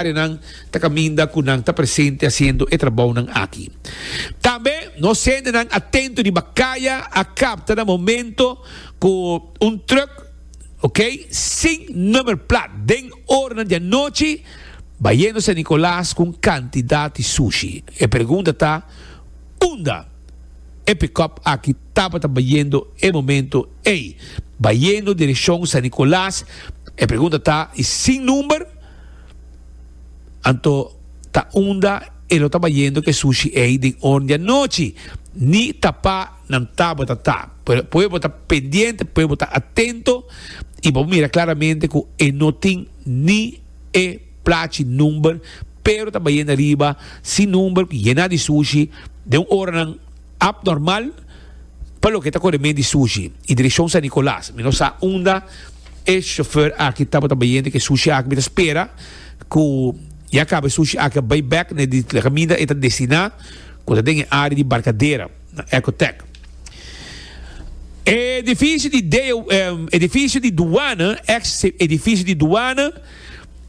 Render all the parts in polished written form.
Áreanan ta kaminda ku nan ta presente hasiendo e trabounan aki. Tambe nos hendenan atento riba kaya a kapta na momento ku un trùk, ok, sin nummerplaat den oranan di anochi bayendo San Nicolas ku un kantidat di sushi. E pregunta ta unda e pikòp aki tabata bayendo e momento ei? Bayendo direkshon San Nicolas, e pregunta ta i sin number? Anto ta unda e lo ta bayendo ku e sushi ei den ora di anochi? Ni tapá nan tabata ta. Pero pueblo ta pendiente, pueblo ta atento i bo mira klaramente ku e no tin ni e plachi number, pero ta bayendo ariba sin number, yená di sushi den un oranan abnormal pa loke ta kore men di sushi i direkshon San Nicolas. Mi no sa unda. E chauffeur aki tabata bayendo ku e sushi aki. Mi ta spera ku ya kaba e sushi aki a bai bek na e kaminda e ta destiná ku ta den e área di Barcadera na Ecotech. E edifisio di edifisio di duana, ex edifisio di duana,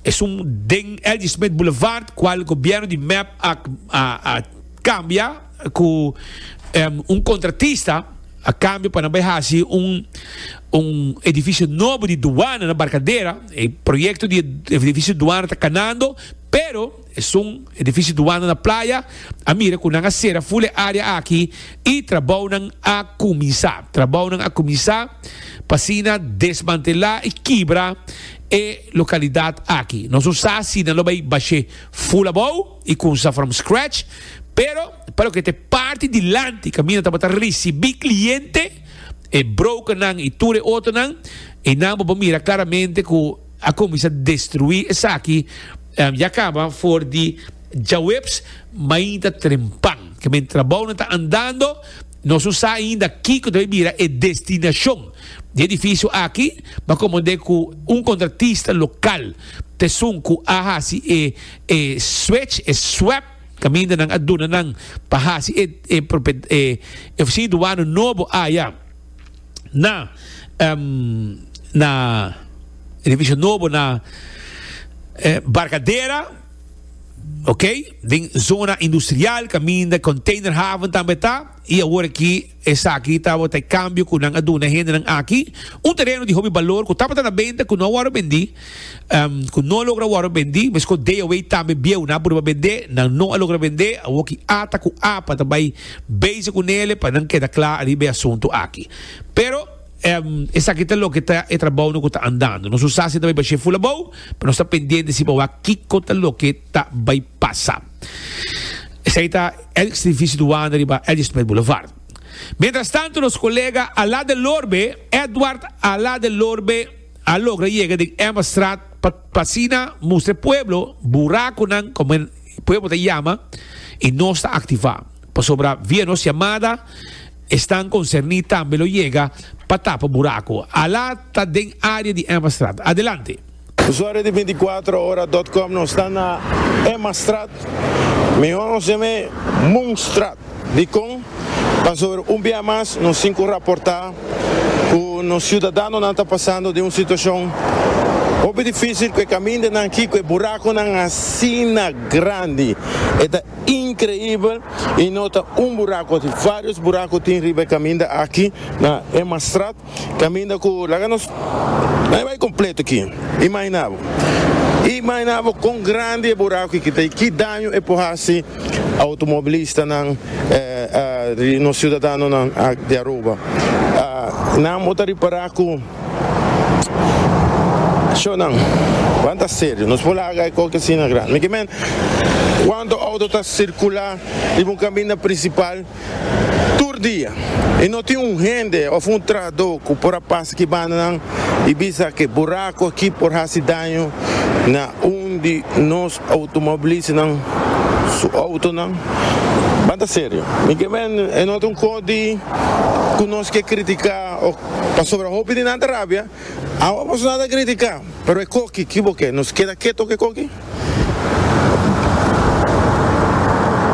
esun den LG. Smith Boulevard kual gobièrnu di mep a a kambia ku un kontratista. A cambio pa nan bay haci un un edificio nobo di duana na Barcadera. E proyecto di e edificio duana ta canando, pero esun edificio duana na Playa a mira cu nan a cera full e area aki y trabounan a cuminsa. Trabounan a cuminsa pa asina desmantela y kibra e localidad aki. Nos no sa si nan lo bay bashe full abou y cunsa from scratch, pero pa loke ta e parti dilanti kaminda tabata risibí kliente, e brokernan i tur e otronan, einan bo por mira klaramente ku a kuminsá destruí esaki ya kaba for di djaweps mainta trempan. Ke men trabounan ta andando, nos no sa ainda kiko ta bai bira e destinashon di e edifisio aki, ma komprondé ku un kontratista lokal ta esun ku a hasi e e switch, e swap, Kaminda nan a duna nan pa hasi e e e ofisina di duano nobo aya na na edifisio nobo na Barcadera, ok, den zona industrial kaminda containerhaven tambe ta. I awor aki esaki tabata e kambio ku nan a duna e hendenan aki, un tereno di hopi balor ku tabata na benta ku no a wòrdu bendí, ku no a logra wòrdu bendí, meskos DOW tambe bieu nan a purba bendé, nan no a logra bendé, awor ki ata ku apa ta bai bezig ku nele pa nan keda kla riba e asuntu aki. Pero esaki ta loke ta e trabounan ku ta andando. Nos no sa si ta bai bashé ful abou, pero nos ta pendiente si pa wak kiko ta loke ta bai pasa. Esei ta ex edificio Duana riba L. Smith Boulevard. Mientras tanto nos colega Ala de Lorbe, Edward Ala de Lorbe a logra yega den Emmastraat pa pa asina mustra e pueblo buraconan como e pueblo ta yama y nos ta activa pasobra via nos yamada esnan concerni tambe lo yega pa tapa buraco. Ala ta den area di Emmastraat. Adelante. Usuario di binticuatro ora dot com nos ta na Emmastraat, mihor nos yam'e Moonstraat. Dikon? Pasobra un bia mas nos tin ku raportá ku nos siudadanonan ta pasando den un situashon hopi difísil ku e kamindanan aki, ku e burakonan asina grandi. E ta inkreibel i no ta un burako, tin vários burako tin riba e kaminda aki na Emmastraat. Caminda cu laga nos nan e bay completo aki. Imagina bo. Imagina bo con grandi e buraco aki ta y ki daño e por haci automobilistanan, nos ciudadanonan di Aruba. Nan bo ta ripara cu shownan ban ta serio. Nos por laga e coke asina grandi. Mi ke men cuanto auto ta circula riba un caminda principal. Tur dia y no tin un hende of un trahador cu por a pasa ki bandanan y bisa cu e buraco aki por haci daño na un di nos automobilistanan su autonan. Ban ta serio. Mi ke men e no ta un cos di cu nos ke critica of pasobra hopi di nan ta rabia. Awa boso nan ta critica pero e coki ki bo ke nos keda keto cu e coki?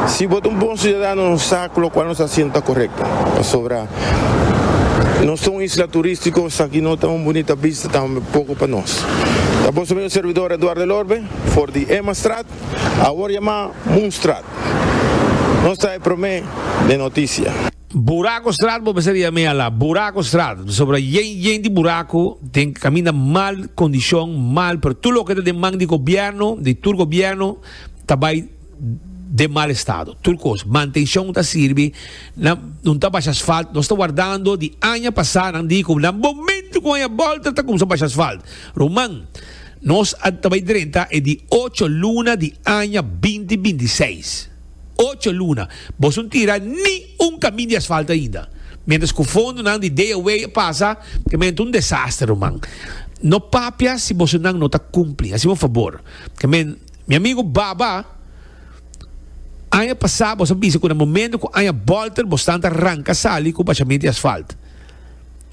Si bo ta un bon ciudadano nos sa cu locual nos ta haciendo ta corecto, pasobra nos ta un isla turistico, esaki no ta un bunita bista tampoco pa nos. Ta boso amigo servidor Eduardo Elorbe for di Emmastraat, awor yamá Moonstraat. Nos ta e promé den noticia. Buracostraat bo mester yam'é ala, Buracostraat, pasobra yen yen di buraco den caminda mal condicion, mal, pero tur loke ta den man di gobierno, di tur gobierno, ta bay den mal estado, tur cos, mantencion ta sirbi, nan no ta basha asfalt, nos ta wardando di aña pasa nan di cu na momento cu aña bolter ta cuminsa basha asfalt, ruman nos a ta bay drenta e di ocho luna di aña binti 26, ocho luna, boso no tira ni un camin di asfalt ainda, mientras cu fondonan di day away a pasa, ke men ta un desaster ruman, no papia si bosonan no ta cumpli, haci un fabor, ke men. Mi amigo Baba, aña pasá bos a bisa ku na momento ku aña bòlter bos tanta ranka sali ku bashament di asfalt.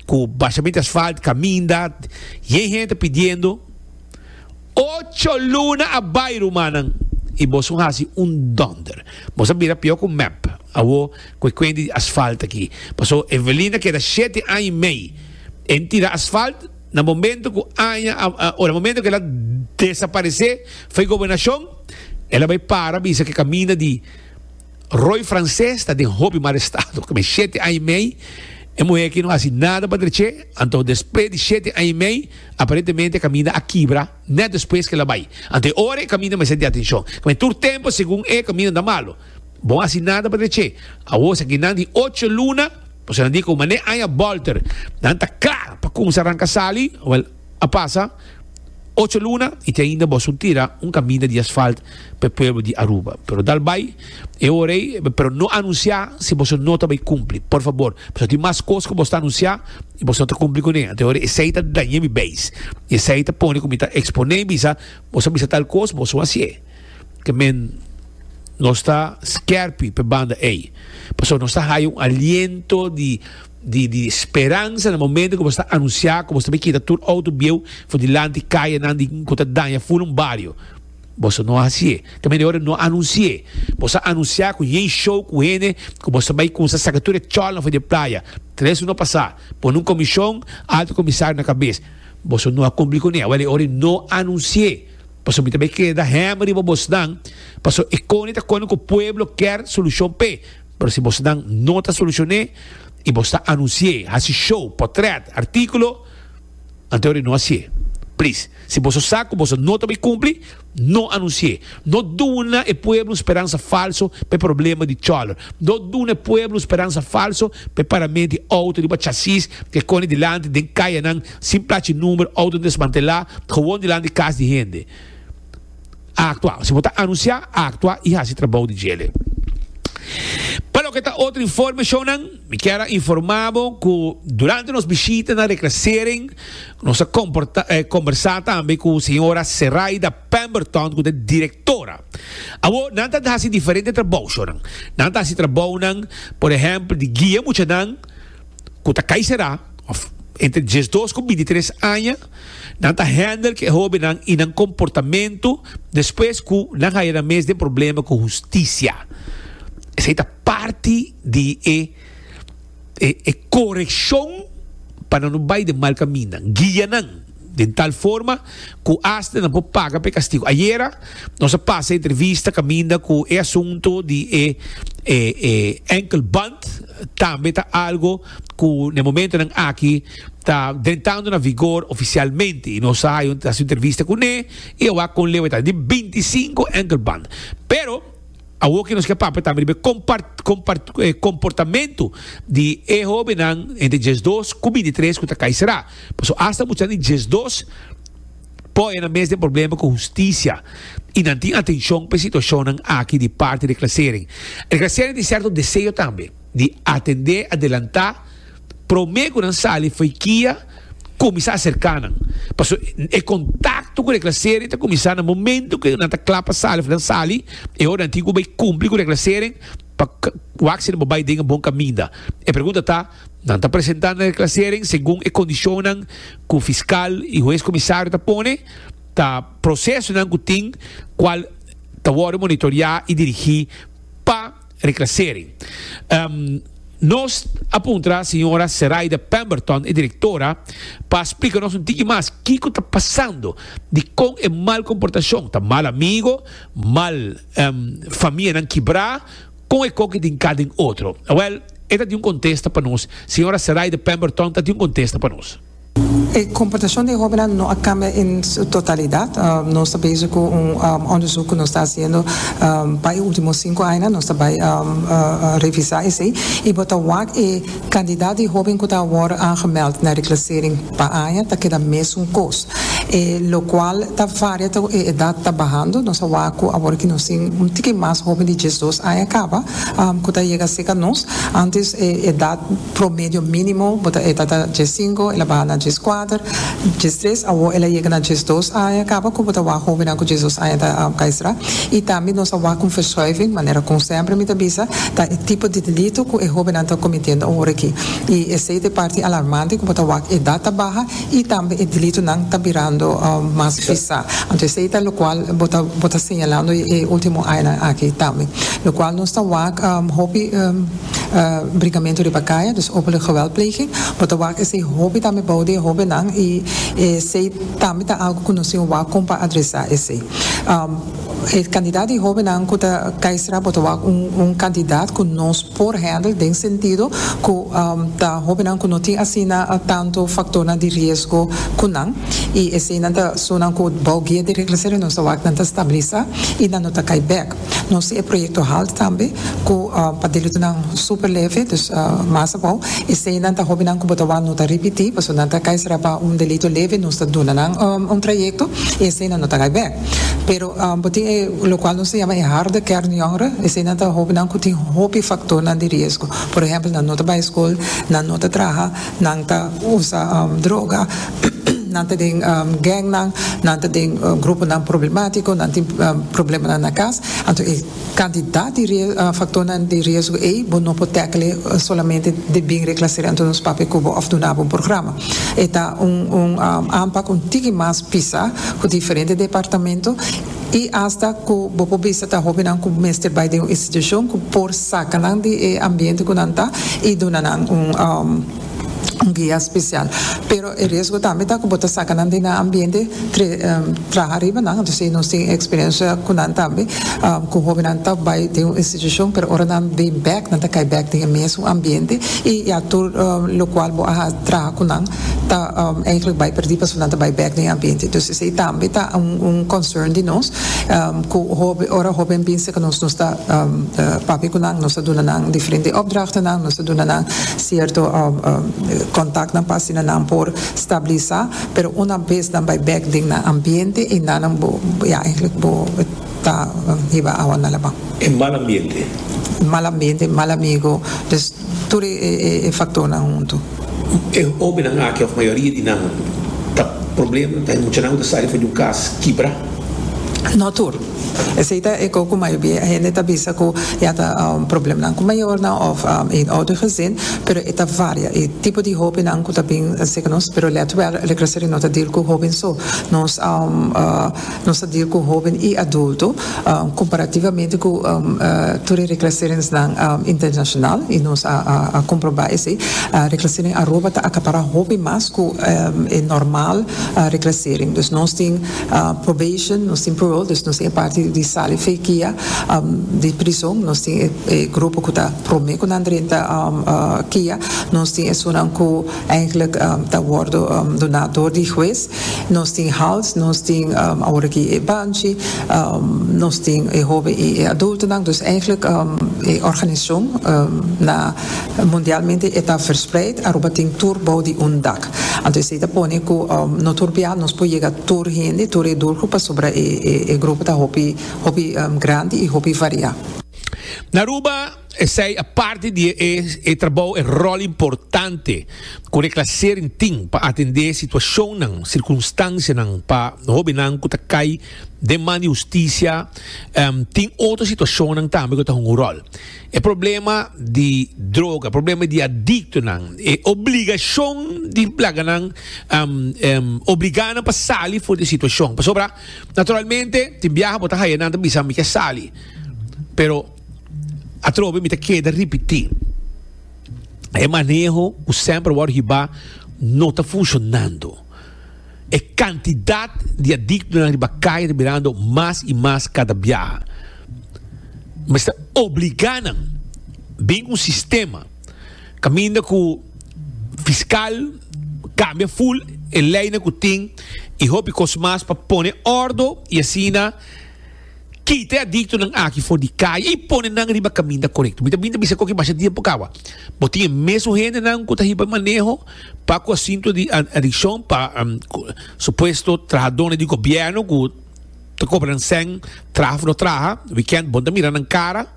Ku bashament di asfalt, kaminda, yen hende ta pidiendo. Ocho luna a bai rumannan i bos un hasi un dònder. Bos a bira pió ku mep awo ku e kuenta di asfalt aki. Paso Evelyn a keda shete aña i mei en tira asfalt. Na momento cu aña a, o na momento cu el a desaparece fo'i gobernacion, el a bay para bisa cu e caminda di Roy Frances ta den hopi mal estado. Como shete aña y mei e muher aki no haci nada pa dreche, anto despues di shete aña y mei aparentemente e caminda a kibra net despues cu el a bay. Anto e ora e caminda mester di atencion. Como tur tempo segun e caminda ta malo. Bo a haci nada pa dreche. Awor esaki nan di ocho luna. Pasobra nan di ku manera aña bòlter nan ta kla pa kumsa ranka sali, wèl, a pasa ocho luna i te ainda boso tira un kaminda di asfalt pa e pueblo di Aruba. Pero dal bai e ora ei, pero no anunsiá si boso no ta bai kumpli, por fabor. Pasobra tin mas kos ku boso ta anunsiá i boso no ta kumpli kuné. Anto e ora esei ta daña mi beis. I esei ta pone ku mi ta eksponé i bisa, boso a bisa tal kos, boso a hasié. Ke men nos ta skerpi p'e banda ei. Pasobra nos ta haya un aliento di di di speransa na momento ku bo sta anunsiá ku bo sta bai kita tur outo bieu for dilanti kayanan di ku ta daña ful un bario. Boso no a hasié. Ke men e ora no anunsié. Boso a anunsiá ku yen show ku hende ku boso ta bai kumsa saka tur e chòlnan for di e playa. Tres luna pasá pone un komishon, alto komisario na kabes. Boso no a kumpli kuné. Awel e ora no anunsié. Pasobra mi ta bay keda hèm riba bosnan, pasobra e koni ta koni ku pueblo kier solushon p'e. Pero si bosnan no ta solushon'é i bos ta anunsi'é, hasi show, potrèt, artíkulo, anto ora no hasié. Plis, si boso sa ku boso no ta bay kumpli, no anunsi'é. No duna e pueblo un speransa falso pa e problema di chòler. No duna e pueblo un speransa falso pa e parament di outo riba chasis ku e koni dilanti den kayanan Sin plachi number, auto desmantelá, gewoon dilanti kas di hende. Aktua. Si bo ta anunsiá, aktua i hasi trabou di djele. Pa loke ta otro informe, shownan, mi kier a informá bo ku durante nos bishita na Reclassering, nos a komportá, kombersá tambe ku señora Seraida Pemberton, ku ta e direktora. Awor, nan ta hasi diferente trabou, shownan. Nan ta hasi trabounan, por ehèmpel, di guia muchanan ku ta kai será, of entre diesdos ku bintitres aña, nan ta handle ku e hóbennan i nan komportamentu despues ku nan haya nan mes den problema ku hustisia. Esei ta parti di e e korekshon pa nan no bai den mal kaminda. Guia nan den tal forma ku asta nan por paga pa e kastigu. Ayera nos a pasa e entrevista kaminda ku e asuntu di e e enkelband tambe ta algo ku na e momentonan aki ta drentando na vigor ofisialmente i nos a hasi un entrevista kuné i a wak kon leu e ta di 25 enkelband. Pero awor ke nos ke papia tambe riba e komportamentu di e hóbennan entre 12 ku 23 ku ta kai será. Pasobra asta muchanan di 12 por e nan mes den problema ku hustisia i nan tin atenshon pa e situashonnan aki di parti di Reclassering. Reclassering tin sèrto deseo tambe. Di atendé adelantá promé ku nan sali fo'i kia kuminsá aserká nan. Pasobra e kontakto ku reklasering ta kuminsá na momento ku nan ta kla pa sali òf nan sali, e ora nan tin ku bai kumpli ku reklasering pa wak si nan por bai den e bon kaminda. E pregunta ta, nan ta presentá na reklasering segun e kondishonnan ku fiskal i hues komisario ta pone? Ta prosesonan ku tin kual ta wòrdu monitoriá i dirigí pa. Reclassering. Nos a puntra señora Seraida Pemberton, e direktora, pa splika nos un tiki mas kiko ta pasando, dikon e mal komportashon, ta mal amigo, mal famianan kibrá, kon e koki tin ka den otro. Awèl, e ta tin un kontesta pa nos. Señora Seraida Pemberton ta tin un kontesta pa nos. E komportashon di e hóbennan no a kambia en su totalidat. Nos ta bezig ku un onderzoek ku nos ta hasiendo pa e último sinku añanan. Nos ta bai revisá esei i bo ta wak e kantidat di hóben ku ta wòrdu aangemeld na reklasering pa aña ta keda mesun kos. E lokual ta varia ta ku e edat ta bahando. Nos a wak ku awor ki nos tin un tiki mas hóben di diesdos aña kaba ku ta yega serka nos. Antes e edat. Promedio minimo bo ta e ta ta diesinco, el a baha na diescuater, diestres, awor el a yega na diesdos aña caba cu bo ta wak hobennan cu diesdos aña ta caestra. Y tambe nos a wak un verschuiving, manera con semper mi ta bisa, ta e tipo di delito cu e hobennan ta cometiendo awor aki. Y esey ta e parti alarmante cu bo ta wak edad ta baha y tambe e delitonan ta birando mas pisa. Anto esey ta locual bo ta bo ta señalando e ultimo añanan aki tambe. Locual nos ta wak hopi. Brincamento riba caya, dus openlijk geweldpleging. Bo ta wak esey hopi tambe bou di e hobennan y esey tambe ta algo cu nos tin wak con pa adresa esey. E cantidad di hobennan cu ta cay sra bo ta wak un cantidad cu nos por handle den sentido cu ta hobennan cu no tin asina tanto factornan di riesgo cu nan y eseynan ta esunnan cu bou guia di reclassering nos ta wak nan ta stabilisa y nan no ta cay bek. Nos tin e proyekto halt tambe ku pa delitonan super leve, dus mas abou. Eseinan ta hobennan ku bo ta wak no ta ripití, pasobra nan ta kai sera pa un delito leve, nos ta duna nan un trayekto i eseinan no ta kai bèk. Pero bo tin e lokual nos ta yama e harde kern jongeren, eseinan ta hobennan ku tin hopi faktornan di riesgo. Por ehèmpel nan no ta bai skol, nan no ta traha, nan ta usa droga, nan ta den gangnan, nan ta den gruponan problemátiko, nan tin problemanan na kas. Anto e kantidat di faktornan di riesgo ei bo no por tèkele solamente di bin reklasera anto nos papia ku bo òf duna bo un programa. E ta un un aanpak un tiki mas pisá ku diferente departamento i asta ku bo por bisa ta hóbennan ku mester bai den un institushon ku por saka nan di e ambiente ku nan ta i duna nan un un guia spesial. Pero e riesgo tambe ta ku bo ta saka nan di nan ambiente traha riba nan. Entonces si nos tin eksperensia ku nan tambe ku hóbennan ta bai den un institushon pero ora nan bin bèk nan ta kai bèk den e mesun ambiente i ya tur lokual bo a traha ku nan ta eigenlijk bai perdí pasobra nan ta bai bèk den e ambiente. Dus esei tambe ta un concern di nos ku hopi ora hoben bin serka nos nos ta papia ku nan, nos ta duna nan diferente opdrachtennan, nos ta duna nan sierto kontaktnan pa asina nan por stabilisá, pero una bes nan bai bèk den nan ambiente i nan bo ya eigenlijk bo ta hiba awa na laban. E mal ambiente. Mal ambiente, mal amigo, dus tur e faktornan huntu. E hobennan aki of mayoria di nan ta problema ta e muchanan ku ta sali for di un kas kibra? No tur. Esei ta e ko ku mayoria hende ta bisa ku ya ta problemanan ku mayornan of een ouder gezin, pero e ta varia. E tipo di hobennan ku ta bin serka nos, pero let wel, Reclassering no ta deal ku hoben so. Nos Nos ta deal cu hoben y adulto comparativamente cu tur e reclasseringsnan internacional y nos a comproba esey. Reclassering Aruba ta acapara hopi mas cu e normal reclassering. Dus nos tin probation, nos tin parole, dus nos tin e parti di sali fe kia di prison, nos tin e grupo cu ta prome cu nan drenta kia, nos tin esunnan cu eigenlijk ta wordo duna door di hues. Nos tin halt, nos tin awor aki e banchi, nos tin e hoben i e adultonan. Dus eigenlijk e organisashon na mundialmente e ta verspreid. Aruba tin tur bou di un dak. Anto esei ta pone ku no tur bia nos por yega tur hende, tur e doelgroep pasobra e grupo ta hopi hopi grandi i hopi variá. Na Aruba. Esei a parti di e e trabou, e ròl importante ku Reclassering tin pa atendé situashonnan, sirkunstansianan pa hóbennan ku ta kai den man di hustisia. Tin otro situashonnan tambe ku ta hunga un ròl. E problema di droga, e problema di adiktonan, e obligashon di laga nan obligá nan pa sali for di e situashon. Pasobra, naturalmente, tin biaha bo ta haya nan ta bisa mi ke sali, pero. Atrobe mi ta keda ripití. E maneho ku semper wòrdu hibá no ta funshonando. E kantidat di adiktonan riba kaya ta birando mas i mas kada biaha. Mester obligá nan bin un sistema kaminda ku fiskal kambia ful e leinan ku tin i hopi kos mas pa pone òrdu i asina Kita e adiktonan aki for di kaya i pone nan riba kaminda korekto. Mi ta bin ta bisa koki basha dia por kaba. Bo tin e mesun hendenan ku ta hiba maneho pa ku asuntu di adikshon pa supuesto trahadónan di gobièrnu ku ta kobra nan sèn traha òf no traha, wikènt bo no ta mira nan kara.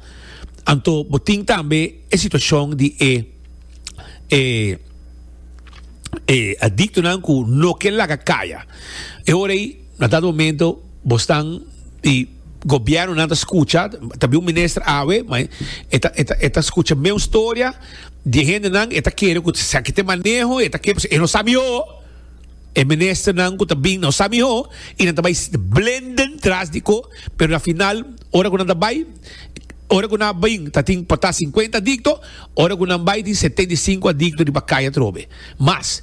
Anto bo tin tambe e situashon di e e e adiktonan ku no ke laga kaya. E ora ei. Na dado momento bo stan y gobiernonan ta scucha, ta bin un minister awe, ma e ta, e ta, e ta scucha meun storia di e hendenan, e ta kere cu esaki ta e maneho, e ta kere, e no sa miho, e ministernan cu ta bin no sa miho, y nan ta bay blenden tras di co, pero na final ora cu nan ta bay, ora cu nan a bin ta tin por ta cincuenta adicto, ora cu nan bay tin 75 adicto riba caya atrobe, mas.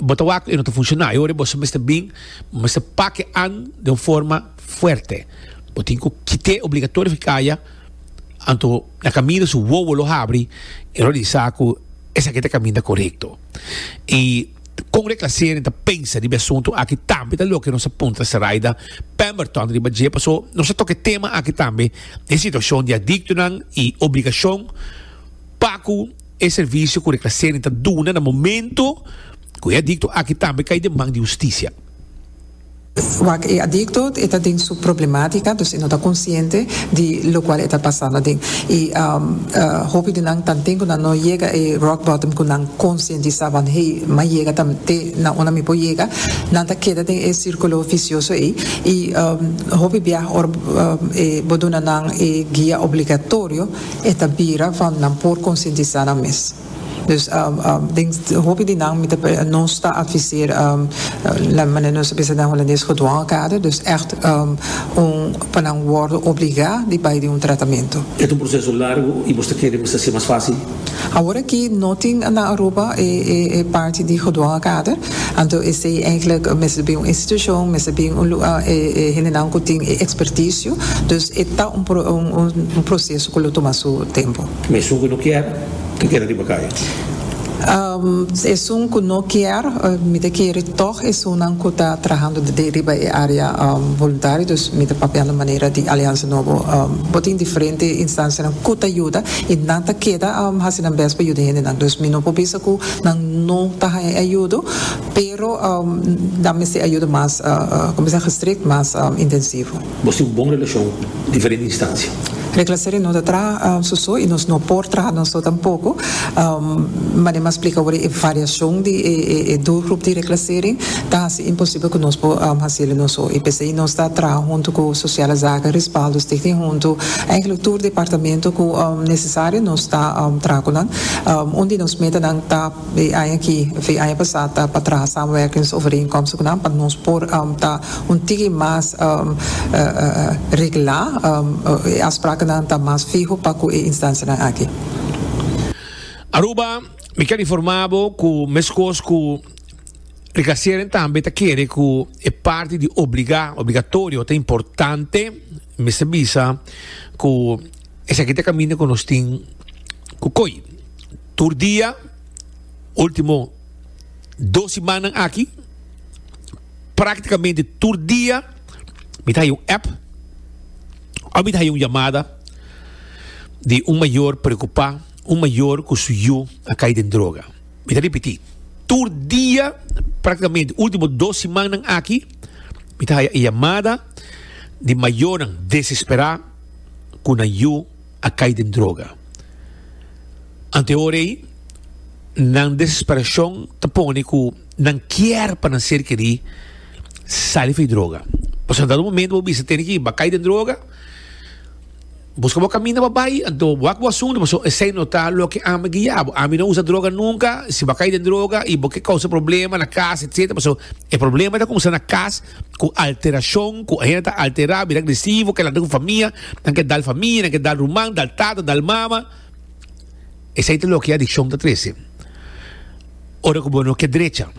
Bo ta wak e no ta funciona. E ora boso mester bin, bo mester pak e an den un forma fuerte. Bo tin ku kit'é obligatorio fi kaya, anto na kaminda su wowo lo habri, e lo realisá ku esaki ta e kaminda korekto. I kon Reclassering ta pensa riba e asuntu aki tambe ta loke nos a puntra Saraida Pemberton riba dje, paso nos a toka e tema aki tambe, e situashon di adiktonan i obligashon pa ku. E servisio ku Reclassering ta duna na momento ku e adikto aki tambe kai den man di hustisia. Wak e adikto e ta den su problematica, dus e no ta konsiente di lokual e ta pasando aden. I hopi di nan tanten ku nan no yega e rock bottom ku nan konsientisá van hey, m'a yega ta te na unda mi por yega, nan ta keda den e sirkulo visioso ei. I hopi biaha ora bo duna nan e guia obligatorio, E ta bira van nan por konsientisá nan mes. Dus den hopi di nan mi ta nos ta adviseer la manera nos ta bisa den Holandes gedwongen kader, dus ègt un pa nan wòrdu obligá di bai den un tratamentu. E ta un proseso largu i bos ta kere mester hasié mas fásil? Awor aki no tin na Aruba e e parti di gedwongen kader, anto esei eigenlijk mester bin un institushon, mester bin un e hendenan ku tin e ekspertisio, dus e ta un un proseso ku lo tuma su tempu. Ma esun ku no kier ta keda riba kaya? Esun ku no kier, mi ta kere tòg esunnan ku ta trahando riba e área voluntario, dus mi ta papiando manera di Aliansa Nobo. Bo tin diferente instansianan ku ta yuda i nan ta keda hasi nan bèst pa yuda hendenan. Dus mi no por bisa ku nan no ta haña e ayudo, pero nan mester e ayudo mas, komo bisa, gestrikt, mas intensivo. Bo tin un bon relashon ku diferente instansia. Reclassering no ta traha su so i nos no por traha nos so tampoko. Manera mi a splika awor e variashon di e doelgroep di reclassering ta hasi imposibel ku nos por hasiel nos so. I p'esei nos ta traha huntu ku Sociale Zaken, Respaldo, Stichting Huntu, eigenlijk tur departamento ku nesesario nos ta traha ku nan. Un di nos metanan ta e aña aki of e aña pasá ta pa traha samenwerkingsovereenkomsten ku nan pa nos por ta Un tiki mas reglá, e afsprakennan ta mas fiho pa ku e instansianan aki. Aruba, mi kier informa bo ku meskos ku Reclassering tambe ta kere ku e parti di obliga, obligatorio, ta importante. Mester bisa ku esaki ta kaminda ku nos tin ku koy. Tur dia, ultimo dos simannan aki, Práktikamente tur dia mi ta haya un app òf mi ta haya un yamada di un mayor preokupá, un mayor ku su yu a kai den droga. Mi ta ripití, tur dia práktikamente último dos simannan aki mi ta haya e yamada di mayornan desesperá ku nan yu a kai den droga. Ante ora ei nan desesperashon ta pone ku Nan kier pa nan ser kerí sali for di droga. Pasobra na dado momento bo bisa tene ki bo a kai den droga, buska bo kaminda pa bai, anto bo wak bo asuntu pasobra esei no ta loke ami a guia bo. Ami no usa droga nunka, si bo a kai den droga i bo ke kousa problema na kas etcetera, pasobra e problema ta kumsa na kas ku alterashon, ku hende ta alterá, bira agresivo, ke lanta ku famia, nan ke dal famia, nan ke dal ruman, dal tata, dal mama. Esei ta loke e adikshon ta trese. Ora ku bo no ke drecha,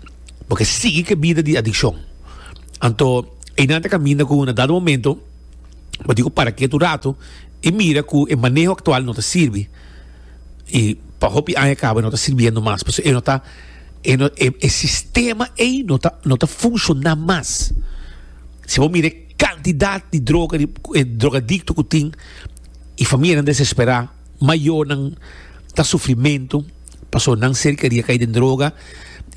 bo ke sigui ku e bida di adikshon. Anto einan ta kaminda ku na dado momento bo tin ku para ketu un ratu i mira ku e maneho aktual no ta sirbi i pa hopi aña kaba no ta sirbiendo mas pasobra e no ta e no e sistema ei no ta no ta funshoná mas. Si bo mira e kantidat di droga di e drogadikto ku tin i famianan desesperá. Mayornan ta sufrimentu pasobra nan ser keria kai den droga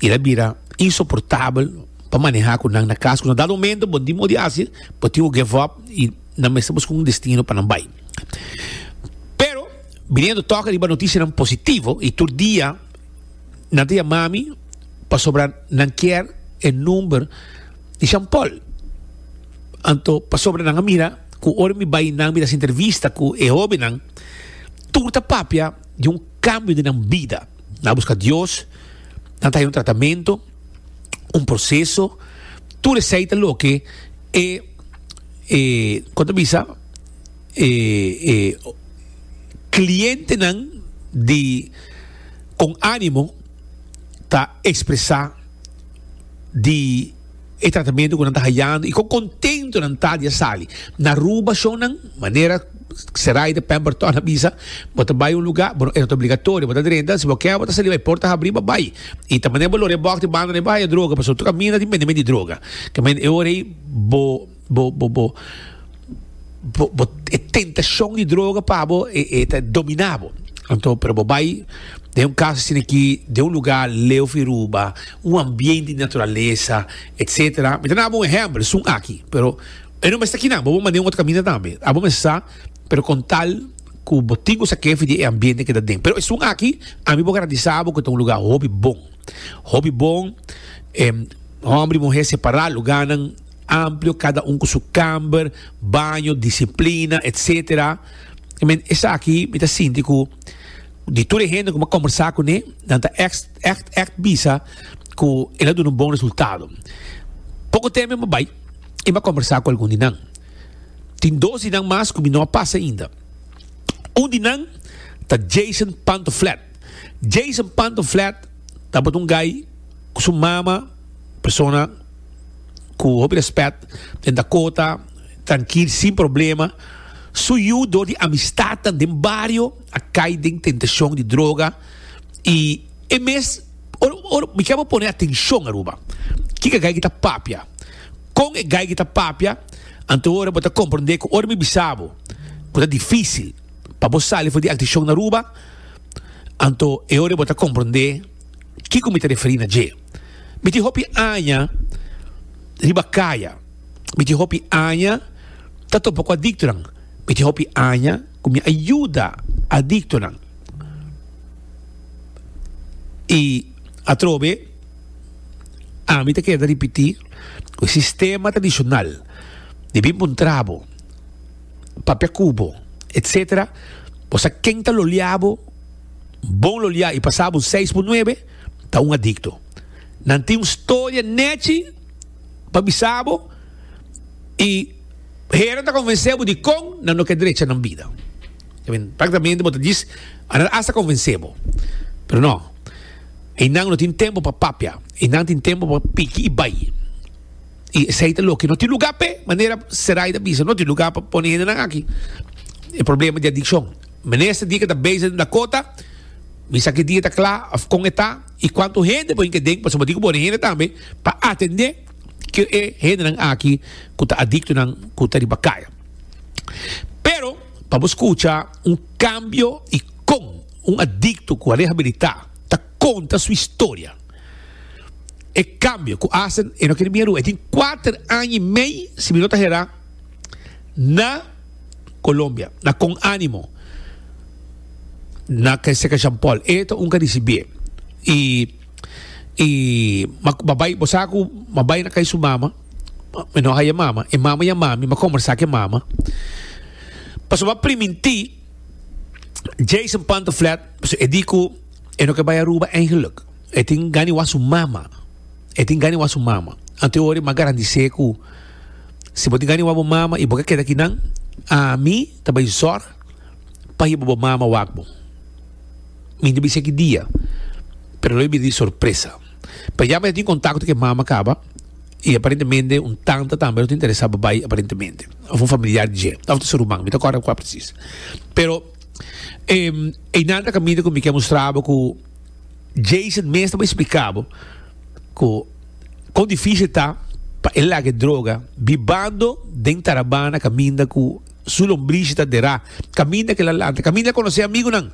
i ta bira insoportabel pa maneha ku nan na kas. Ku na dado momento bo no tin modo di hasi, bo tin ku give up i nan mester buska un destino pa nan bai. Pero biniendo tòg riba notisianan positivo i tur dia nan ta yama mi pasobra nan kier e number di Jean Paul. Anto pasobra nan a mira ku ora mi bai nan mi ta hasi entrevista ku e hobennan, tur ta papia di un kambio den nan bida. Nan a buska Dios, nan ta haña un tratamentu, un proseso, tur esei ta loke e e kon ta bisa e e klientenan di Kon Animo ta ekspresá di e tratamentu ku nan ta hayando i kon kontentu nan ta di a sali. Na Aruba shownan, manera Seraida Pemberton a bisa, bo ta bai un lugá, bo no, e no ta obligatorio, bo ta drenta, si bo ke bo ta sali bai, porta habrí bo bai. I ta manera bo lora e bòk di banda bo haya droga, pasobra tur kaminda tin bendimento di droga. Ke men e ora ei bo bo bo bo bo bo e tentashon di droga pa bo e e ta dominá bo. Anto pero bo bai den un kas asina aki, den un lugá leu fi Aruba, un ambiente di naturalesa, etcetera. Mi ta daba un ehèmpel, esun aki, pero e no mester kinan, bo por manda un otro kaminda tambe. Abo mester sa, pero kon tal ku bo tin ku sa kefi di e ambiente ke ta den. Pero esun aki, ami por garantisa bo ku ta un lugá hopi bon. Hopi bon, hòmber i muhé separá, lugánan amplio, kada un ku su kamber, baño, disiplina, etcetera. I men, esaki mi ta sinti ku di tur e hende ku mi a kombersá kuné, nan ta ègt, ègt, ègt bisa ku el a duna un bon resultado. Poko tempu mi a bai i mi a kombersá ku algun di nan. Tin dos di nan mas ku mi no a pasa ainda. Un di nan ta Jason Pantoflet. Jason Pantoflet tabata un gai ku su mama, persona ku hopi rèspèt den Dakota, trankil, sin problema. Su yu dor di amistatnan den bario a kai den tentashon di droga i e mes ora ora mi kier bo pone atenshon Aruba kiko e gai ki ta papia kon e gai ki ta papia anto ora bo ta komprende ku ora mi bisa bo ku ta difisil pa bo sali for di adikshon na Aruba anto e ora bo ta komprende kiko mi ta referi na dje mi tin hopi aña riba kaya. Mi tin hopi aña ta topa ku adiktonan. Mi tin hopi aña ku mi a yuda adiktonan. I atrobe ami ta keda ripití ku e sistema tradishonal di bin puntra bo, papia ku bo, etsetera, bo sa ken ta lolia bo, bon lolia i pasa bo un seis por nuebe, ta un adikto. Nan tin un storia nechi. pa bisa bo y hera ta convence bo dicon nan no ke drecha nan bida. Practicamente bo ta djis a nan hasta convence bo. Pero no, eynan no tin tempo pa papia, eynan tin tempo pa piki y bay. Y esey ta loke no tin lugar p'e, manera Seray ta bisa, no tin lugar pa pone hendenan aki. E problema di adiccion. Minister di ke ta bezig den Dakota, mi sa ki dia ta kla of kon e ta i kuantu hende por hinka den pasobra bo tin ku pone hende tambe pa atendé ku e hendenan aki ku ta adiktonan ku ta riba kaya. Pero pa bo skucha un kambio i kon un adikto ku a rehabilitá ta konta su historia, e kambio ku hasta e no kere bin Aruba, e tin kuater aña i mei si mi no ta herá na. Colombia, na Con Animo, na Seca Jean Paul. E ta un ka ricibié. Y, y ma, ma bai, bo sa cu ma bai na cay su mama, mi no haya mama, e mama yama mi, ma conversa cu e mama. Pasobra ma priminti Jason Pantoflet, pasobra e di cu e no ke bai Aruba eigenlijk. E tin gana di wak su mama. E tin gana di wak su mama. Anto e ora mi a garantise cu si bo tin gana di wak bo mama y bo ke keda akinan, ami ta bai zorg pa hiba bo mama wak bo. Mi no bisa ki dia, pero lo e bira di sorpresa. Pero ya mi a tin contacto cu e mama caba y aparentemente un tanta tambe lo ta interesa pa bay aparentemente. Of un familiar di dje, of ta su ruman, mi ta corda cua precies. Pero einan ta caminda cu mi ke mustra bo cu Jason mes ta bay explica bo cu con dificil ta pa e laga e droga bibando den Tarabana caminda cu su lombrishi ta dera, caminda cu el a lanta, caminda el a conoce amigunan.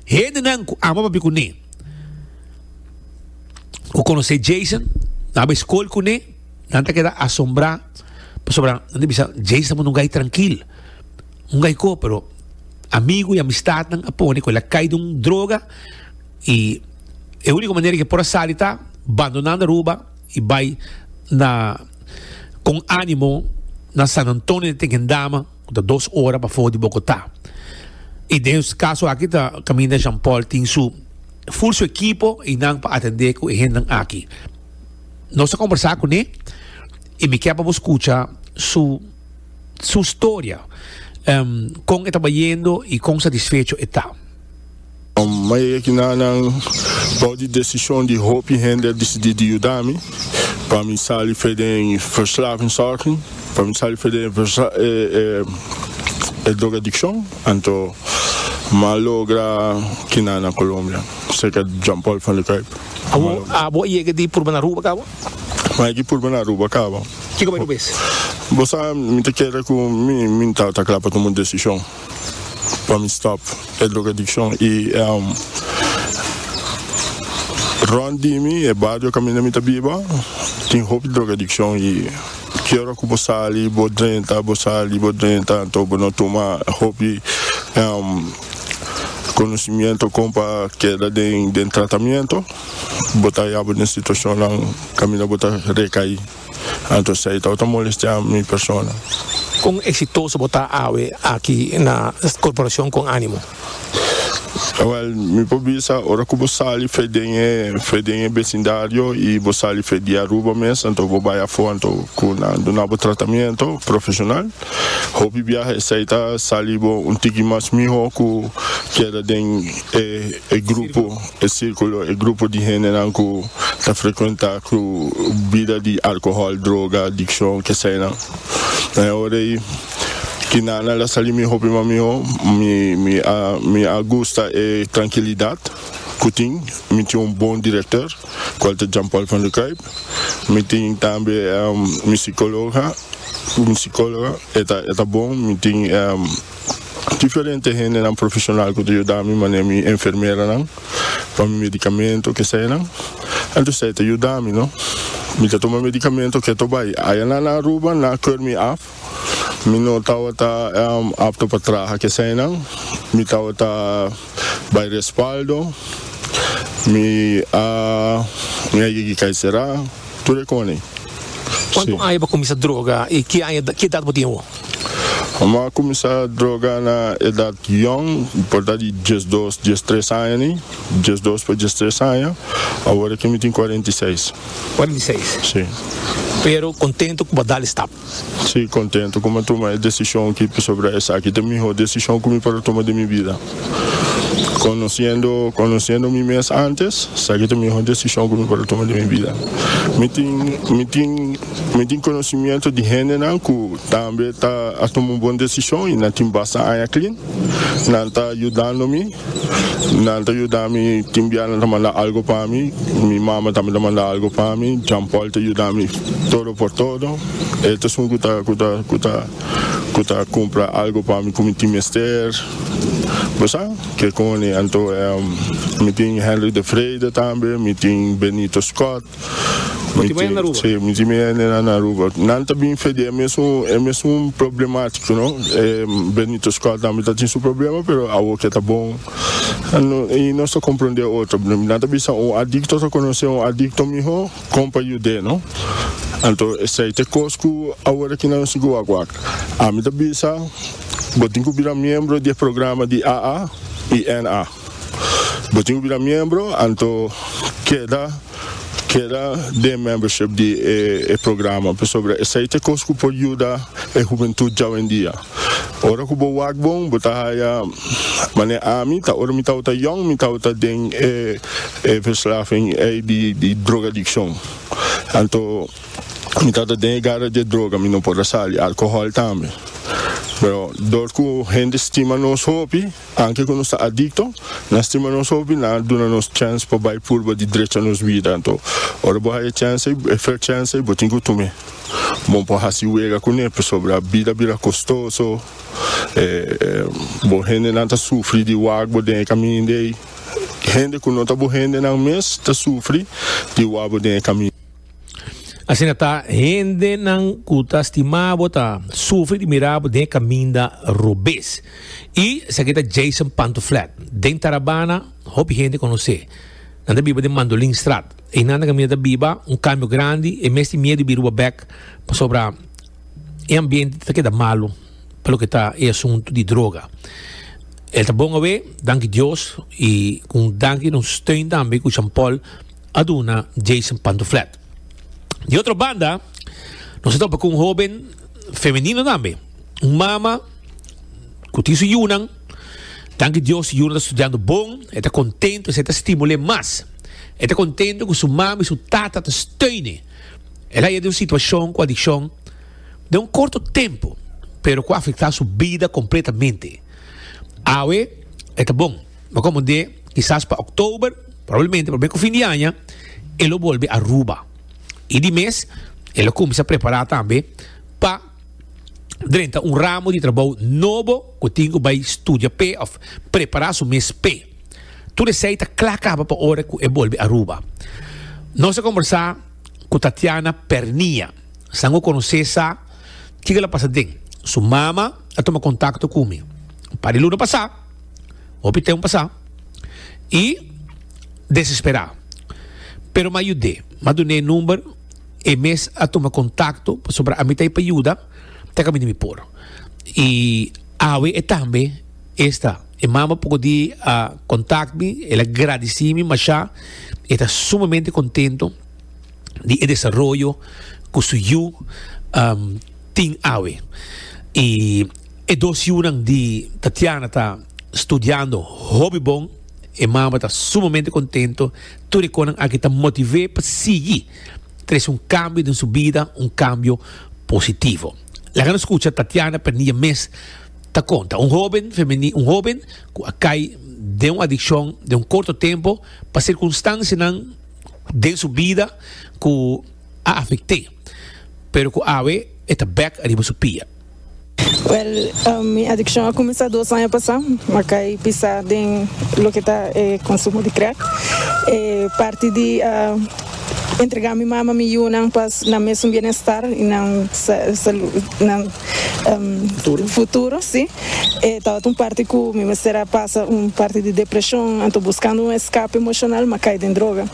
Hendenan ku ama papia kuné, ku konosé Jason, nan a bai skol kuné, nan ta keda asombrá pasobra nan ta bisa Jason tabata un gai trankil, un gai ko, pero amigu i amistatnan a pone ku el a kai den un droga i e úniko manera ku e por a sali ta bandonando Aruba i bai na kon ánimo na San Antonio de Tequendama. Ku ta dos ora pafó di Bogotá. I den es kaso aki ta kaminda Jean Paul tin su ful su ekipo i nan pa atendé ku e hendenan aki. Nos a kombersá kuné i mi ke pa bo skucha su su storia, kon e ta bayendo i kon satisfecho e ta. Mi a yega aki na nan bou di desishon di hopi hende a disidí di yuda mi pa mi sali fe den verslavingszorging, pa mi sali fe den e drogadikshon. Anto mi a logra kina na Colombia serka Jean Paul van der Kuyp. Awor abo a yega di purba na Aruba kaba? Mi a yega di purba na Aruba kaba. Kiko bai rubes? Bo sa mi ta kere ku mi mi tabata kla pa tuma un desishon. Pa mi stop e drogadiccion y rond di mi e bario caminda mi ta biba tin hopi drogadiccion y ki ora cu bo sali bo drenta bo sali bo drenta anto bo no tuma hopi conocimiento con pa keda den tratamiento bo ta yaba den situacionnan caminda bo ta recai. Anto esei tabata molestiá mi persona. Kon eksitoso bo ta awe aki na Korporashon Kon Animo? Awèl, mi por bisa ora ku bo sali fe den e fe den e besindario i bo sali fe di Aruba mes, anto bo bai afó anto ku nan duna bo tratamiento profeshonal. Hopi biaha esei ta sali bo un tiki mas mihó ku keda den e e grupo. E sirkulo, e grupo di hendenan ku ta frekuentá ku bida di alkohòl, droga, adikshon, keseinan. Na e ora ei, kinanan la sali mi hopi mas mihó. Mi mi a mi a gusta e trankilidat ku tin. Mi tin un bon direktor, kual ta Jean Paul van der Kuyp. Mi tin tambe mi sikologa, mi sikologa, e ta e ta bon. Mi tin. Diferente hendenan profesional ku ta yuda mi, manera mi enfermeranan pa mi medikamento kesenan. Anto esei ta yuda mi, no. Mi ta tuma medikamento keto bai. Ayanan na Aruba nan a keur mi af. Mi no tabata apto pa traha kesenan. Mi tabata bai respaldo. Mi a mi a yegi kai sera. Tur e koni. Kuantu aña bo a kuminsá droga i ki aña ki edat bo tin awor? Mi a kuminsá droga na edat yòn, por ta di diesdos, diestres aña ni, diesdos pa diestres aña. Awor aki mi tin 46. 46? Sí. Pero kontentu ku bo a dal e stap? Sí, kontentu ku mi a tuma e desishon aki pasobra esaki ta e mihó desishon ku mi por a tuma den mi bida. Conociendo, conociendo mi mes antes, esaki ta mihor decision cu mi por a tuma den mi bida. Mi tin, mi tin, mi tin conocimiento di hendenan cu tambe ta a tuma un bon decision y nan tin basta aña clean. Nan ta yudando mi, nan ta yuda mi, tin bia nan ta manda algo pa mi, mi mama tambe ta manda algo pa mi, Jean Paul ta yuda mi todo por todo. E ta esun cu ta, cu ta, cu ta. Ku ta kumpra algu pa mi ku mi tin mester, bo sa ke koni. Anto mi tin Henry de Vrede tambe, mi tin Benito Scott. Bo tin mi hende na Aruba? Si, mi tin mi hendenan na Aruba. Nan ta bin fe di e mesun e mesun problematiko no. Benito Scott tambe ta tin su problema pero awor ke ta bon i nos ta komprende otro. Nan ta bisa un adikto ta konosé un adikto miho. Kon pa yud'é no? Anto esei ta e kos ku awor aki nan sigui wak wak. Ami ta bisa bo tin ku bira miembro di e programa di AA i NA. Bo tin ku bira miembro anto keda. Keda den membership di e programa pasobra esei ta e kos ku por yuda e hubentut djawendia. Ora ku bo wak bon bo ta haya manera ami ta ora mi tabata yòn mi tabata den e verslaving ei di drogadikshon. Anto mi tabata den e gara di e droga mi no por a sali, alkohòl tambe. Pero dor ku hende stima nos hopi. Anke ku nos ta adikto, nan stima nos hopi, nan a duna nos chèns pa bai purba di drecha nos bida. Anto, ora bo haña e chèns ei, e fer chèns ei, bo tin ku tum'é. Bo por hasi wega kuné, pasobra bida bira kostoso, bo hendenan ta sufri di wak bo den e kaminda ei. Hende ku no ta bo hendenan mes ta sufri di wak bo den e kaminda. Asina ta, hendenan ku ta stima bo ta sufri di mira bo den e kaminda robes. I esaki ta Jason Pantoflet. Den Tarabana, hopi hende konosé. Nan ta biba den Mandolinstraat. Einan ta kaminda ta biba un kambio grandi. E mes tin miedu di biruba bèk pasobra e ambiente ta keda malu pa loke ta e asuntu di droga. El ta bon awe, danki Dios, i ku un danki na un steun tambe ku Jean Paul a duna Jason Pantoflet. Di otro banda, nos a topa ku un hoben femenino tambe, un mama ku tin su yunan. Danki Dios, su yunan ta studiando bon, e ta kontento, esei ta stimul'é mas. E ta kontento ku su mama i su tata ta steun'é. El a yega den un situashon ku adikshon den un korto tempu, pero ku a afektá su bida kompletamente. Awe e ta bon. Bo komprendé, kisas pa oktober. Probablemente prome ku fin di aña e lo bolbe Aruba. I di mes e lo kuminsá prepará tambe pa drenta un ramo di trabou nobo ku tin ku bai studia p'e òf prepará su mes p'e. Tur esei ta kla kaba pa ora ku e bolbe Aruba. Nos a kombersá ku Tatiana Pernia. San ku konosé sa kiko el a pasa den. Su mama a tuma kontakto ku mi un par di luna pasá. Hopi tempu pasá i desesperá. Pero m'a yud'é. M'a dun'é e number, e mes a tuma kontakto pasobra ami ta ei pa yuda te kaminda mi por. I awe e tambe esta. E mama poko di a kontakt mi, el a gradisí mi mashá. E ta sumamente kontento di e desaroyo ku su yu tin awe. I. E dos yunan di Tatiana ta studiando hopi bon. E mama ta sumamente contento. Tur e conan aki ta motiv'é pa sigui trece un cambio den su bida, un cambio positivo. Laga nos scucha Tatiana Pernilla mes ta conta. Un hoben femeni, un hoben cu a cay den un adiccion den un corto tempo pa circunstancianan den su bida cu a afect'é, pero cu awe e ta bek ariba su pia. Wèl, mi adikshon a kuminsá dos aña pasá. Mi a kai pisá den loke ta e konsumo di krèk. E parti di a entregá mi mama mi yunan pa nan mesun bienestar i nan salu, nan futuro, sí. E tabata un parti ku mi mester a pasa un parti di depreshon, anto buskando un eskape emoshonal mi a kai den droga.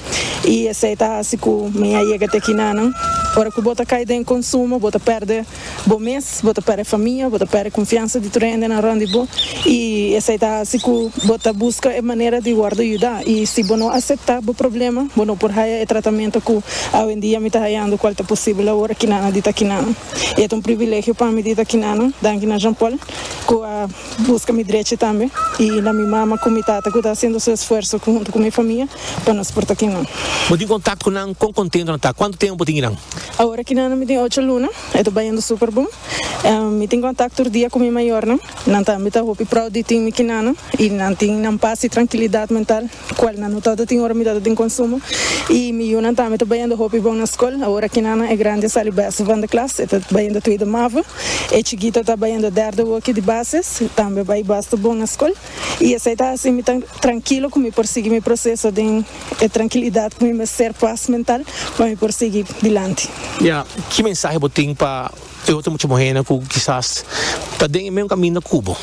I esei ta hasi ku mi a yega te kinanan. Ora ku bo ta kai den konsumo, bo ta pèrdè. Bo mes, bo ta pèrdè famia, bo ta pèrdè konfiansa di tur hendenan rònt di bo i esei ta hasi ku bo ta buska e manera di wòrdu yudá. I si bo no aseptá bo problema, bo no por haya e tratamentu ku awendia mi ta hayando kual ta posibel awor akinana di ta akinana. I e ta un privilegio pa mi di ta akinana. Danki na Jean Paul ku a buska mi drechi tambe i na mi mama ku mi tata ku ta hasiendo su esfuerso huntu ku mi famia pa nos por ta akinan. Bo tin kontakto ku nan? Kon kontento nan ta? Kuantu tempu bo tin kinan? Awor akinan mi tin ocho luna. E ta bayendo super bon. Mi tin contact tur dia cu mi mayornan. Nan tambe ta hopi proud di tin mi kinanan y nan tin nan paz y trankilidad mental cual nan no tabata tin ora mi tabata tin consumo. Y mi yunan tambe ta bayendo hopi bon na scol. Awor kinanan e grandi a sali best van de klas, e ta bayendo tweede mavo. E chikito ta bayendo derde woki di basis, tambe bay basta bon na scol. Y esey ta haci mi tan trankilo cu mi por sigui mi proceso den e trankilidad cu mi mester, paz mental, pa mi por sigui dilanti. Ya, ki mensahe bo tin pa e otro mucha muhernan cu kisas ta den e mesun caminda cu bo?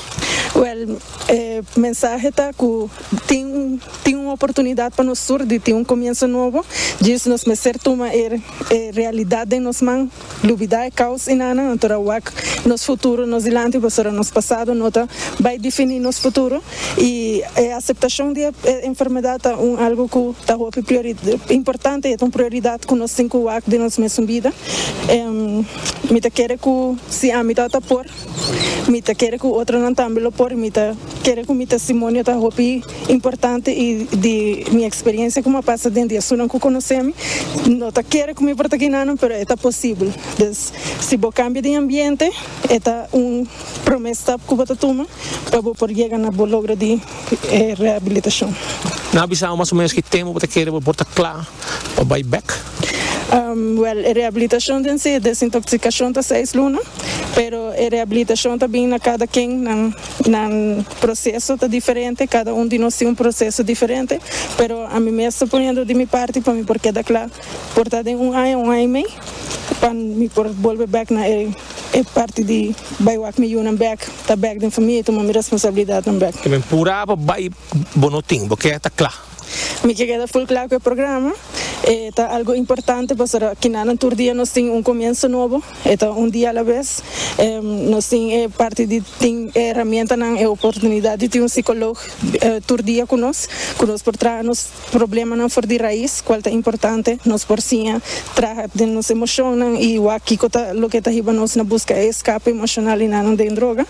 Wèl, e mensahe ta ku tin tin un oportunidat pa nos tur di tin un komienso nobo. Djis nos mester tuma e e realidat den nos man, lubidá e kaos enanan, anto ra wak nos futuro nos dilanti pasobra nos pasado no ta bai definí nos futuro. I e aseptashon di e enfermedat ta un algu ku ta hopi priori importante, e ta un prioridat ku nos tin ku wak den nos mesun bida. Mi ta kere ku si ami tabata por, mi ta kere ku otronan tambe lo por i mi ta kere ku mi testimonio ta hopi importante i di mi eksperensia ku mi a pasa den di esunnan ku konosé mi, no ta kere ku mi por ta kinanan pero e ta posibel. Dus si bo kambia di ambiente e ta un promé stap ku bo ta tuma pa bo por yega na bo logro di e rehabilitashon. Nan a bisa bo mas o menos ki tempu bo ta kere bo por ta kla pa bai bek? Wèl, e rehabilitashon den si, e desintoxikashon ta seis luna, pero e rehabilitashon ta bin na kada ken nan nan proseso ta diferente, kada un di nos tin un proseso diferente, pero ami mes ta poniendo di mi parti pa mi por keda kla por ta den un aña, un aña i mei, pa mi por bolbe bek na e e parti di bai wak mi yunan bek, ta bek den famia i tuma mi responsabilidatnan bek. Ke men purá pa bai bo no tin, bo ke ta kla. Mi ke keda ful kla ku e programa. E ta algo importante pasobra kinanan tur dia nos tin un komienso nobo, e ta un dia a la bes. Nos tin e parti di tin e herramientanan, e oportunidat di tin un psikolog tur dia ku nos, ku nos por traha nos problemanan for di rais, kual ta importante. Nos por siña traha den nos emoshonnan i wak kiko ta loke ta hiba nos na buska e eskape emoshonal i nan den droga.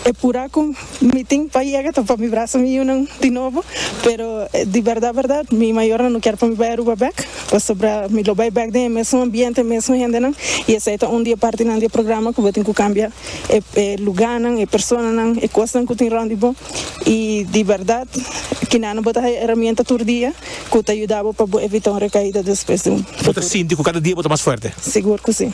E pura ku mi tin pa yega ta pa mi brasa mi yunan di nobo, pero di bèrdat bèrdat mi mayornan no kier pa mi bai Aruba bèk, pasobra mi lo bai bèk den e mesun ambiente, e mesun hendenan, i esei ta un di e partinan di e programa ku bo tin ku kambia e e lugánan, e personanan, e kosnan ku tin rònt di bo, i di bèrdat kinan bo ta haya herramienta tur dia ku ta yuda bo pa bo evita un rekaida despues di un Bo ta futuro. sinti ku kada dia bo ta mas fuerte? Sigur ku si.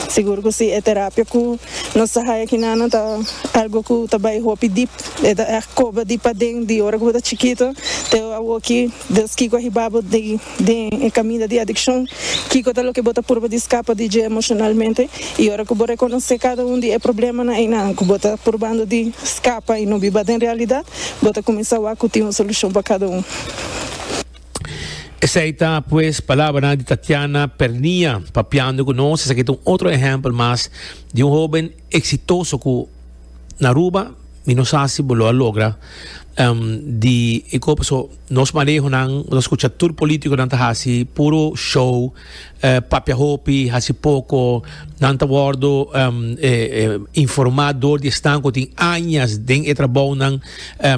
Sigur ku si, e terapia ku nos ta haya kinan ta algo ku ta bai hopi dip. E ta ègt koba di paden di ora ku bo ta chikito te awoki. Des kiko a hiba bo den e kaminda di adikshon? Kiko ta loke bo ta purba di skapa di dje emoshonalmente? I ora ku bo rekonosé kada un di e problemanan einan ku bo ta purbando di skapa i no biba den realidat, bo ta kuminsá wak ku tin un solushon pa kada un. Esei ta pues palabranan di Tatiana Pernia papiando cu nos. Esaki ta un otro ehempel mas di un hoben exitoso cu na Aruba mi no sa si bo lo a logra di e ko paso nos manehonan bo ta scucha tur politiconan ta haci puro show papia hopi haci poco nan ta wordo informa door di esnan cu tin añas den e trabounan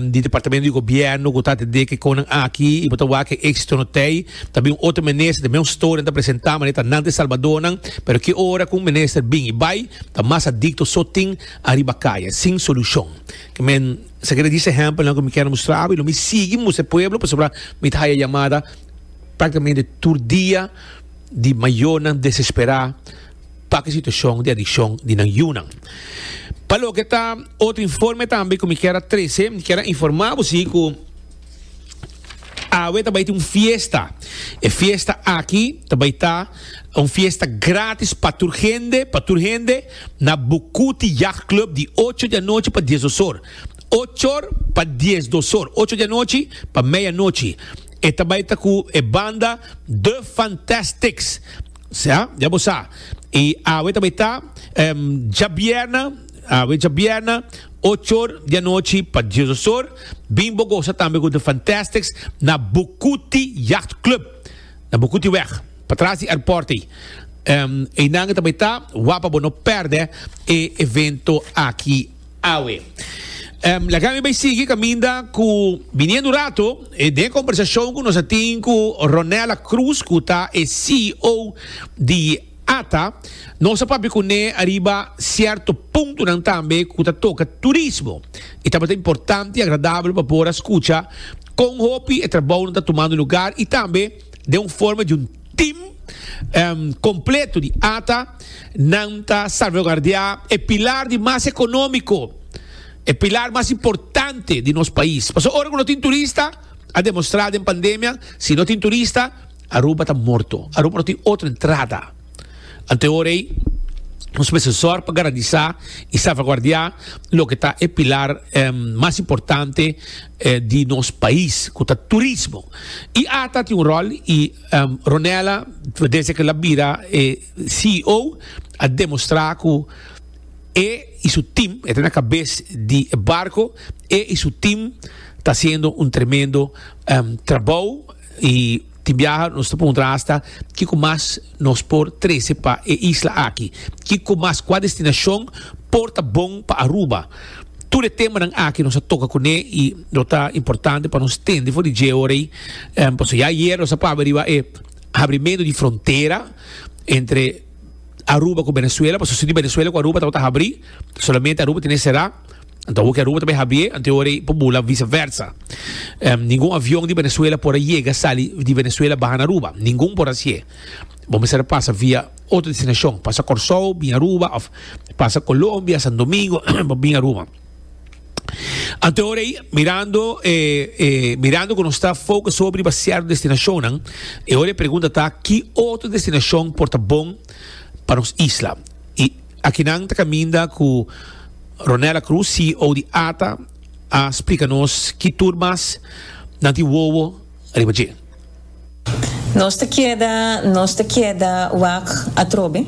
di departamento di gobierno cu ta atende ke konan aki y bo ta wak e exito no tey ta bin un otro minister ta bin un story nan ta presenta manera ta nan ta e salbadornan pero ki ora cu un minister bin y bay ta mas adicto so tin ariba caya sin solucion ke men esaki ta dies ehempelnan cu mi kier mustra abo y lo mi sigui mustra e pueblo pasobra mi ta haya yamada practicamente tur dia di mayornan desespera pa ku e situashon di adikshon di nan yunan. Pa loke ta otro informe tambe ku mi kier a trese, mi kier a informa bo si ku awe ta bai tin un fiesta. E fiesta aki ta bai ta un fiesta gratis pa tur hende, pa tur hende na Bucuti Yacht Club di ocho di anochi pa diesdos or. Ocho or pa diesdos or, ocho di anochi pa meia nochi. E ta bai ta ku e banda The Fantastics. Sea, ya bo sa. I awe ta bai ta djabièrnè, awe djabièrnè, ocho or di anochi pa diesdos or. Bin bo gosa tambe ku The Fantastics na Bucuti Yacht Club, na Bucutiweg, patras di airport ei. Einan ta bai ta, wak pa bo no pèrdè e evento aki. Awe. Laga mi bai sigui kaminda ku biniendo un rato den e kombersashon ku nos a tin ku Ronella Cruz ku ta e CEO di ata. Nos a papia kuné ariba sierto puntonan tambe ku ta toka turismo. I tabata importante i agradabel pa por a skucha kon hopi e trabounan ta tumando lugar i tambe den un forma di un team completo di ata nan ta salvaguardia e pilar di mas economico, e pilar mas importante di nos pais. Pasobra ora cu no tin turista, a demostra den pandemia, si no tin turista, Aruba ta morto. Aruba no tin otro entrada. Ante ora ey. Nos mester sòr pa garantisa i salvaguardiá loke ta e pilar mas importante di nos pais, ku ta turismo. I ata tin un ròl i Ronella desde ku el a bira e CEO a demostrá ku e i su tim, e ta na kabes di e barko, e i su tim ta hasiendo un tremendo trabou i Tin biaha nos ta puntra hasta kiko mas nos por trece pa e isla aki. Kiko mas, cua destinacion por ta bon pa Aruba. Tur e temanan aki nos a toca cune y lo ta importante pa nos tende for di dje ora ey. Pasobra ya ayer nos a papia riba e habrimento di frontera entre Aruba cu Venezuela, pasobra si di Venezuela cu Aruba tabata habri, solamente Aruba tene cera. Anto awor ki Aruba ta bay habié, anto e ora ei por bula vice versa. Ningun avion di Venezuela por a yega sali di Venezuela baha na Aruba. Ningun por hacié. Bo mester a pasa via otro destinacion. Pasa Corsou, bin Aruba, of pasa Colombia, San Domingo, pa bin Aruba. Anto e ora ei, mirando e, e, mirando cu nos ta focus sobre riba cierto destinacionnan, e ora e pregunta ta, ki otro destinacion por ta bon pa nos isla? Y akinan ta caminda cu Ronella Cruz, CEO di ata, a splika nos ki tur mas nan tin wowo riba dje. Nos ta keda nos ta keda wak atrobe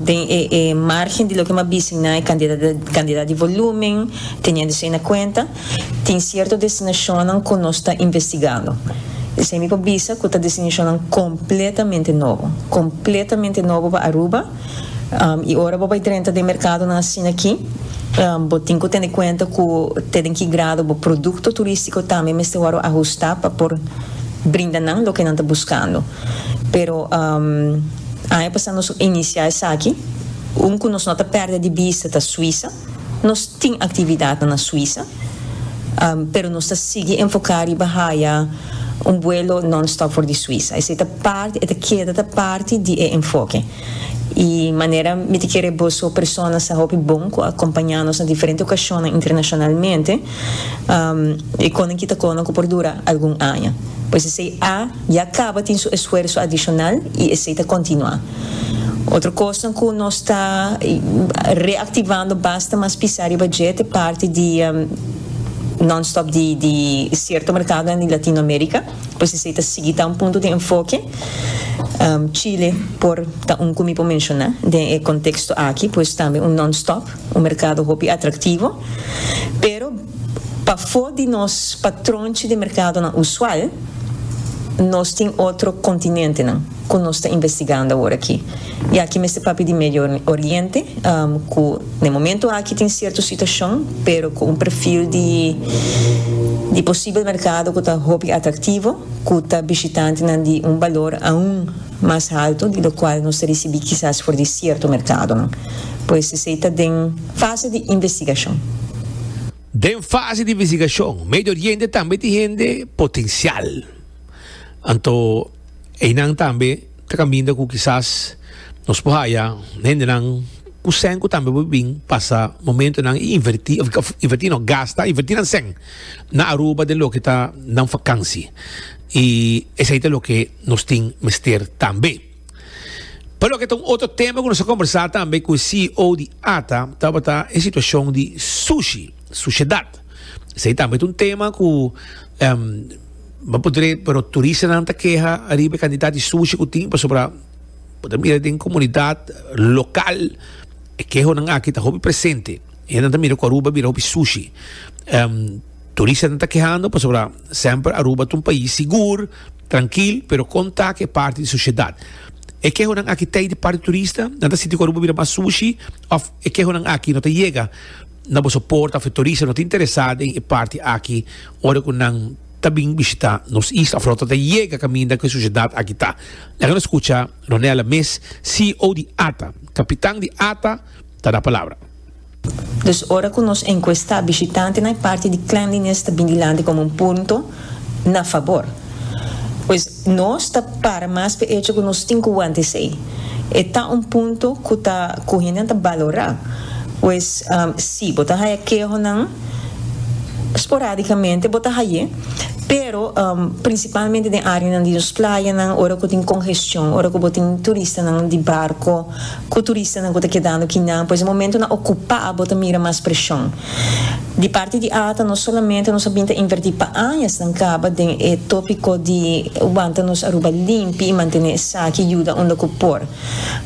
den e e margen di loke m'a bisa na e kandidat di volumen, teniendo esei na kuenta, tin sierto destinashonnan ku nos ta investigando. Esei mi por bisa ku ta destinashonnan kompletamente nobo, kompletamente nobo pa Aruba. I ora bo bai drenta den merkadonan asina aki, bo tin ku tene kuenta ku te den ki grado bo produkto turístiko tambe mester wòrdu ahustá pa por brinda nan loke nan ta buskando. Pero aña pasá nos a inisiá esaki. Un ku nos no ta pèrdè di bista ta Suisa. Nos tin aktividatnan na Suisa, pero nos ta sigui enfoká riba haya un buelo nònstòp for di Suisa. Esei ta parti, e ta keda ta parti di e enfoke. I manera mi ta kere boso persona sa hopi bon ku a kompañá nos na diferente okashonnan internashonalmente, e konan kita konan ku por dura algun aña. Pues esei a ya kaba tin su esfuerso adishonal i esei ta kontinuá. Otro kosnan ku nos ta reaktivando basta mas pisá riba dje ta e parti di nònstòp di di sierto merkadonan di Latinoamerika. Pues esei ta sigui ta un punto di enfoke. Chile por ta un ku mi por menshoná den e konteksto aki, pues tambe un nònstòp, un merkado hopi atraktivo. Pero pafó di nos patronchi di merkadonan usual, nos tin otro kontinentenan ku nos ta investigando awor aki. I aki mester papia di Medio Oriente, ku na e momento aki tin sierto situashon, pero ku un perfil di di posibel merkado ku ta hopi atraktivo, ku ta bishitantenan di un balor aun mas haltu di lokual nos ta risibí kisas for di sierto merkadonan. Pues esei ta den fase di investigashon. Den fase di investigashon, Medio Oriente tambe tin hende potensial. Anto einan tambe ta kaminda ku kisas nos por haya hendenan ku sèn ku tambe por bin pasa momentonan i invertí, òf invertí no, gasta, invertí nan sèn na Aruba den loke ta nan fakansi. I esei ta loke nos tin mester tambe. Pa loke ta un otro tema ku nos a kombersá tambe ku e CEO di ata tabata e situashon di sushi, sushedat. Esei tambe ta un tema ku bo por dre, pero turistanan ta keha ariba e kantidat di sushi ku tin pasobra bo ta mira den komunidat lokal e kehonan aki ta hopi presente. Hende nan ta mira ku Aruba bira hopi sushi. Turistanan ta kehando pasobra semper Aruba ta un pais sigur, trankil, pero kon ta ku e parti di sushedat? E kehonan aki ta ei di parti turista? Nan ta sinti ku Aruba bira mas sushi òf e kehonan aki no ta yega na boso porta òf e turista no ta interesá den e parti aki ora ku nan ta bin bishitá nos isla òf no ta yega kaminda ku e sushedat aki ta? Laga nos skucha Ronella mes, CEO di ata. Kapitan di ata ta da palabra. Dus ora ku nos enkuestá bishitantenan e parti di cleanliness ta bin dilanti komo un punto na fabor. Pues nos ta para mas p'e echo ku nos tin ku wanta esei. E ta un punto ku ta ku hendenan ta balorá. Pues si bo ta haya kehonan sporadikamente bo ta hay'é. Pero principalmente den areanan di nos playanan ora cu tin congestion, ora cu bo tin turistanan di barco cu turistanan cu ta kedando kinan, pues e momentonan ocupa bo ta mira mas presion. Di parti di ata no solamente nos a bin ta inverti pa añasnan caba den e topico di wanta nos Aruba limpi y mantene esaki yuda unda cu por.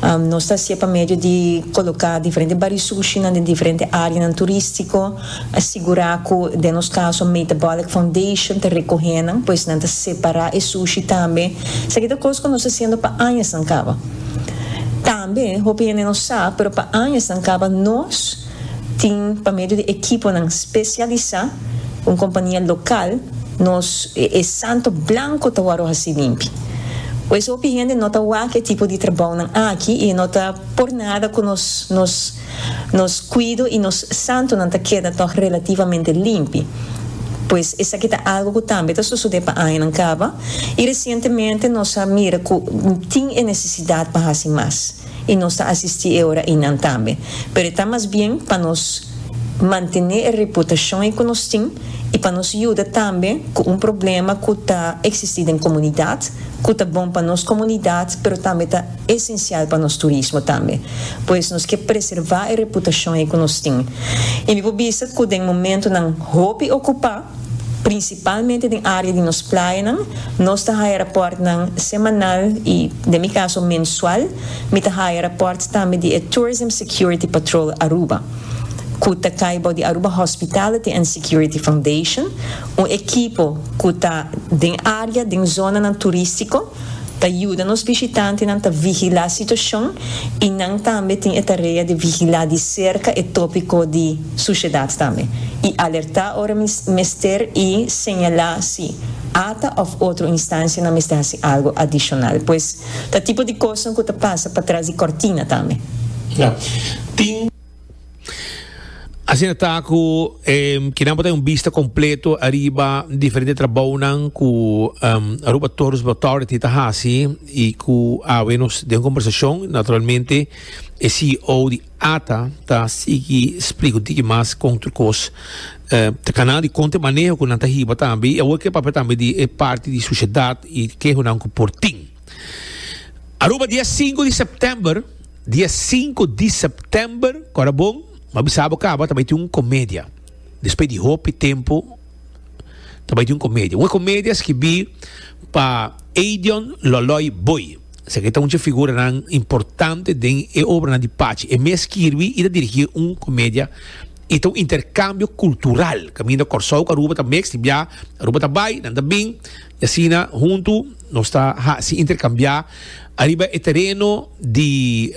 Nos ta hacié pa medio di coloca diferente bari sushinan den diferente areanan turistico, sigura cu den nos caso Metabolic Foundation ta recoge nan, pues nan ta separa e sushi tambe. Esaki ta cos cu nos ta haciendo pa añasnan caba. Tambe hopi hende no sa, pero pa añasnan caba nos tin pa medio di ekiponan spesialisá, un kompania lokal, nos e santo blanko ta wòrdu hasi limpi. Pues hopi hende no ta wak e tipo di trabounan aki i no ta por nada ku nos nos nos kuido i nos santonan ta keda tòg relativamente limpi. Pues esaki ta algu ku tambe ta sosodé pa añanan kaba i resientemente nos a mira ku tin e nesesidat pa hasi mas. i nos ta asistí e ora einan tambe. Pero e ta mas bien pa nos mantené e reputashon ei ku nos tin i pa nos yuda tambe ku un problema ku ta eksistí den komunidat, ku ta bon pa nos komunidat pero tambe ta esensial pa nos turismo tambe. Pues nos ke preservá e reputashon ei ku nos tin. I mi por bisa ku den momentunan hopi okupá, Prinsipalmente den área di nos playanan, nos ta haya rapòrtnan semanal i, den mi kaso, mensual. Mi ta haya rapòrt tambe di e Tourism Security Patrol Aruba, ku ta kai bou di Aruba Hospitality and Security Foundation, un ekipo ku ta den área, den zonanan turístiko, ta yuda nos bishitantenan ta vigilá situashon i nan tambe tin e tarea di vigilá di serka e tópiko di sushedat tambe i alertá ora mester i señalá si ata òf otro instansianan mester hasi algu adishonal. Pues ta tipo di kosnan ku ta pasa patras di kòrtina tambe. Tin. Asina ta ku kinan bo ta un bista kompleto ariba diferente trabounan ku Aruba Tourism Authority ta hasi i ku awe nos den kombersashon naturalmente e CEO di ata ta sigui splika un tiki mas kon tur kos ta kana di kon ta e maneho ku nan ta hiba tambe i awor ke papia tambe di e parti di sushedat i kehonan ku por tin. Aruba dia sinku di sèptèmber. Dia sinku di sèptèmber, kòrda bon, m'a bisa bo kaba, ta bai tin un komedia. Despues di hopi tempu, ta bai tin un komedia. Un e komedia skibí pa Edion Loloy Boy. Esaki ta un dje figuranan importante den e obranan di Pachi. E mes skirbi i ta dirigí un komedia i ta un interkambio kultural kaminda Kòrsou ku Aruba ta meks, tin bia Aruba ta bai, nan ta bin, i asina huntu nos ta hasi interkambiá Ariba e tereno di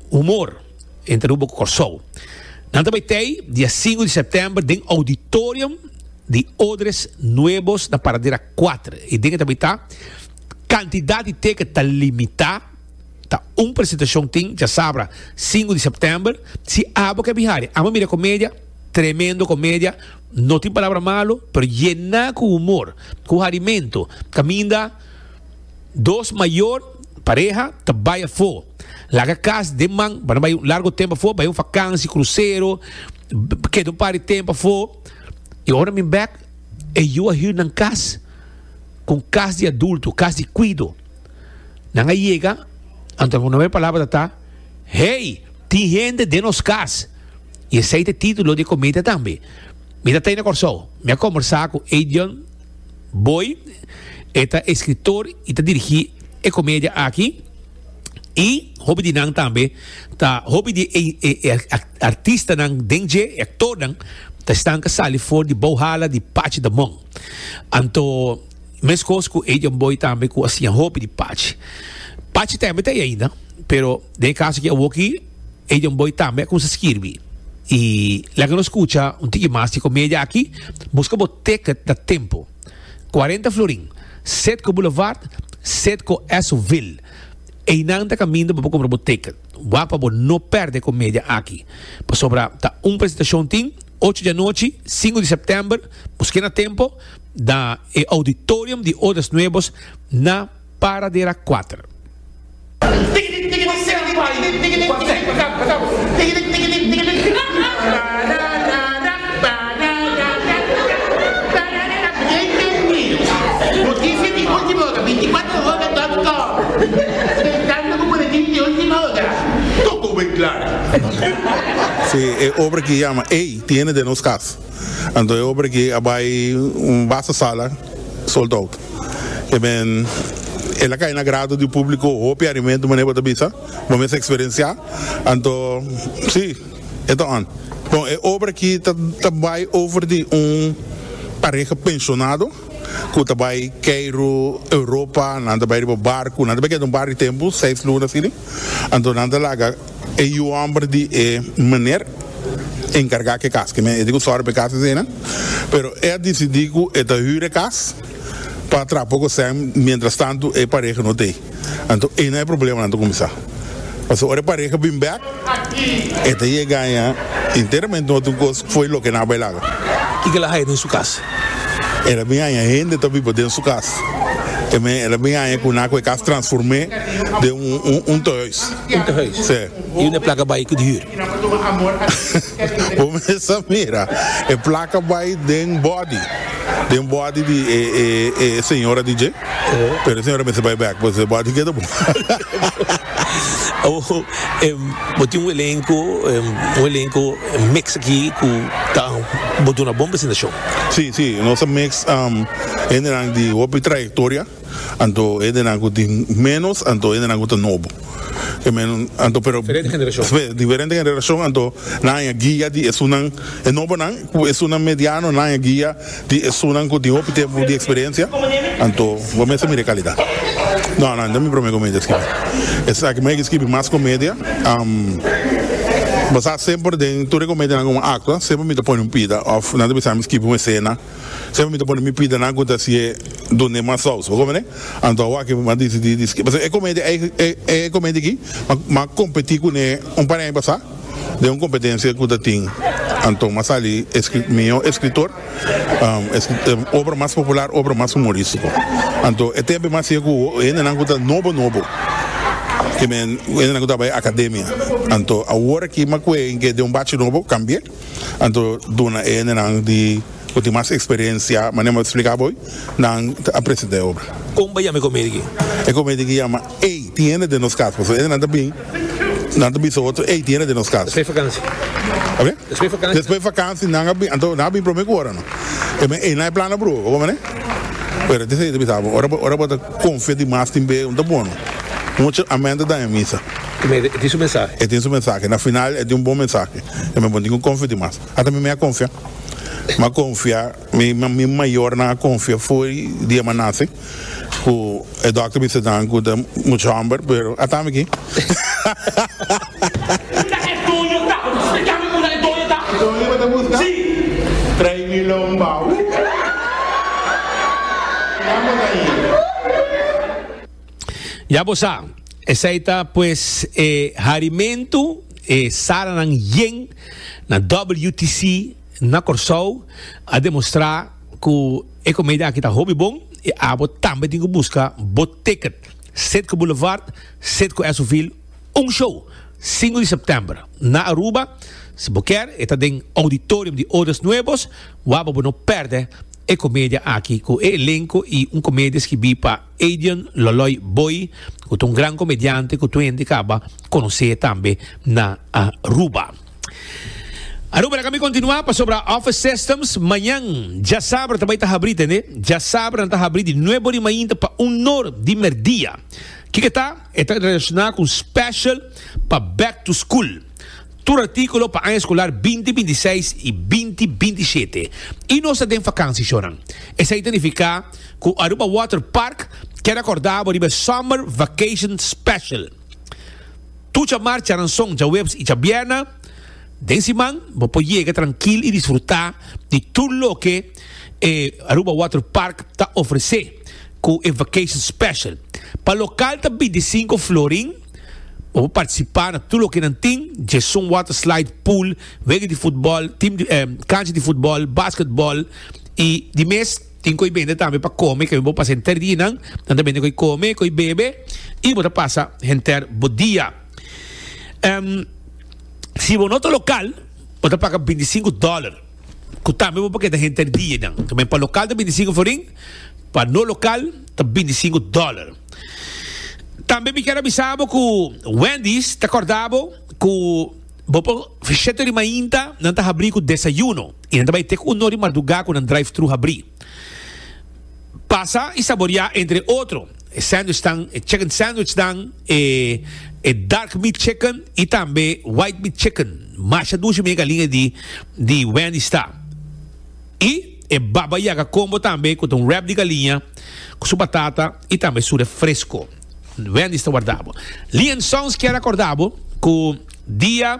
humor entre Aruba ku Kòrsou. Nan ta bai tei dia sinku di sèptèmber den Auditorium di Odres Nuevos na Paradera kuater. E den e ta bai ta kantidat di teket ta limitá. Ta un presentashon tin djasabra sinku di sèptèmber. Si abo ke bin hari, amo mira komedia, tremendo komedia, no tin palabra malu, pero yená ku humor, ku harimentu, kaminda. Dos mayor pareha ta bai afó. Laga kas den man pa nan bai un largo tempu afó, bai un fakansi, krusero, keda un par di tempu afó. I ora bin bèk, e yu a hür nan kas ku un kas di adulto, kas di kuido. Nan a yega, anto nan promé palabra ta ta, Hey, tin hende den nos kas! I esei ta e título di e komedia tambe. Mi ta tei na Kòrsou. Mi a kombersá ku Edion. Boy, e ta escritor y ta dirigi e comedia aki. Y hopi di nan tambe ta hopi di e, e, e artistanan den dje, e actornan, ta esnan ka sali for di bouwhala di Pachi Damon. Anto, mescos cu Edion Boy tambe cu a siña hopi di Pachi. Pachi tambe ta ei ainda, pero den e caso aki awoki, Edion Boy tambe a cuminsa skirbi. Y laga nos scucha un tiki mas di comedia aki. Busca bo ticket na tempo. Cuarenta florin. Citgo Boulevard, Citgo Esso-ville. Eynan ta caminda pa bo cumpra bo ticket. Wak pa bo no perde e comedia aki. Pasobra ta un presentacion tin, ocho di anochi, sinku di september. Busque na tempo na e auditorium di Odres Nuevos na Paradera kuater. Si, e obra aki yama Ey, tiene den nos cas. Anto e obra aki a bay un basta sala sold out. E men el a cay na grado di publico hopi arimento manera bo ta bisa, bo mes experiencia. Anto si, e ta on. Bon, e obra aki ta ta bay over di un pareha pensionado cu ta bay Cairo, Europa, nan ta bay riba barco, nan ta bay keda un par di tempo, seis luna asina. Anto nan ta laga e yu homber di e meneer encarga cu e cas. Ke men e di cu sori pa e cas esei nan. Pero e a dicidi cu e ta huur e cas pa traha poco cen mientras tanto e pareha no ta ei. Anto einan e problemanan ta cuminsa. Pasobra ora e pareha bin bek e ta yega haña enteramente otro cos fo'i loke nan a bay laga. Kiko el a haya den su cas? El a bin haña hende ta biba den su cas. E men el a bin haña cu nan cu e cas transform'é den un un tehuis. Un tehuis? Sí. Y unda e placa bay cu di huur? Bo mes a mira, e placa bay den body, den body di e e e señora di dje, pero e señora mester bay bek, pues e body keda bon. Awor, bo tin un elenco, un elenco mix aki cu ta bo duna bon presentacion. Sí, sí, nos a mix hendenan di hopi trayectoria, anto hendenan cu tin menos, anto hendenan cu ta nobo. Anto pero Diferente generacion. Diferente generacion, anto nan haña guia di esunnan e nobonan cu esunnan mediano, nan haña guia di esunnan cu tin hopi tempo di experiencia, anto bo mester mira e calidad. No, no, no mi prome comedia skibi. Esaki mi a skibi mas comedia. Bo sa semper den tur e comedianan cu mi actua, semper mi ta pone un pida of nan ta bisa mi skibi un escena. Semper mi ta pone mi pidanan cu ta hacié dun'é mas saus, bo comprende? Anto awor aki mi a dicidi di skibi. Pasobra e comedia ei, e e comedia aki, mi a competi cun'é un par di aña pasá den un competencia cu ta tin. Anto mi a sali mihó escritor, obra mas popular, obra mas humoristico. Anto e tempo mi a hacié cu hendenan cu ta nobo nobo, ke men hendenan cu ta bai academia. Anto awor aki mi a cu'é den un bachi nobo, cambié. Anto duna e hendenan di ku tin mas eksperensia, manera mi a splika bo, nan ta a presenta e obra. Kon bo yama e komedi aki? E komedi aki yama Ey, tin hende den nos kas. Pasobra e hendenan ta bin, nan ta bisa otro, Ey, tin hende den nos kas. Despues fakansi. Oke? Despues fakansi. Despues fakansi nan a bin, anto nan a bin prome ku ora no. E men ey nan e plan a bruha, bo komprende? Pero te esei ta bisa bo, ora bo ora bo ta konfia dimas tin be, no ta bono. Mucha amen ta daña misa. E tin su mensahe. E tin su mensahe. Na final e tin un bon mensahe. E men bo tin ku konfia dimas. Ata mi mi a konfia. Mi a konfia, mi mi mayornan a konfia fo'i dia mi a nase ku e dòkter bisa nan ku ta mucha hòmber, pero ata mi aki. Unda e doño ta? Bo ta splica mi unda e doño ta? E doño bo ta busca? Si. Trae mi lombao. Nan bo ta hira. Ya bo sa, esei ta pues e harimentu, e salanan yen na WTC na Kòrsou a demostrá ku e komedia aki ta hopi bon i abo tambe tin ku buska bo ticket. Citgo Boulevard, Citgo Esoville, un show, sinku di sèptèmber na Aruba. Si bo kier, e ta den Auditorium di Odas Nuevos. Wak bo no pèrdè e komedia aki ku e elenko i un komedia skibí pa Adian Loloy Boy ku ta un gran komediante ku tur hende kaba konosé tambe na Aruba. Aruba laga mi kontinuá pasobra Office Systems mañan djasabra ta bai ta habrí tende. Djasabra nan ta habrí di nuebe ora di mainta pa un nor di merdia. Kiko e ta? E ta relashoná ku un special pa back to school. Tur artíkulo pa aña eskolar binti binti seis i binti binti shete. I nos ta den fakansi shornan. Esei ta nifiká ku Aruba Water Park kier akorda bo riba e Summer Vacation Special. Tur djamar, djaranson, djaweps i djabierna den siman bo por yega trankil i disfruta di tur loke e Aruba Water Park ta ofrece ku e Vacation Special. Pa lokal ta 25 florin, bo por participa na tur loke nan tin, djesun water slide, pool, wega di futbol, team di, kancha di futbol, basketbol i di mes. Tin ko'i bende tambe pa kome, kende bo pasa henter dia nan, nan ta bende ko'i kome, ko'i bebe, i bo ta pasa henter bo dia. Si bo no ta lokal, bo ta paga 25 dòler, ku tambe bo por keda henter dia nan. Tamen pa lokal ta 25 florin, pa no lokal ta 25 dòler. Tambe mi kier a bisa bo ku Wendy's ta kòrda bo ku. Bo por 7 or di mainta nan ta habri ku desayuno i nan ta bai te ku 1 or di mardugá ku nan drive-thru habri. Pasa i saboriá entre otro e sandwichnan, e chicken sandwichnan, e e dark meat chicken i tambe white meat chicken. Masha dushi mi e galiña di di Wendy's ta. I e baba yaga combo tambe ku ta un wrap di galiña ku su batata i tambe su refresco. Wendy's ta warda bo. Lee and Sons kier acorda bo cu dia.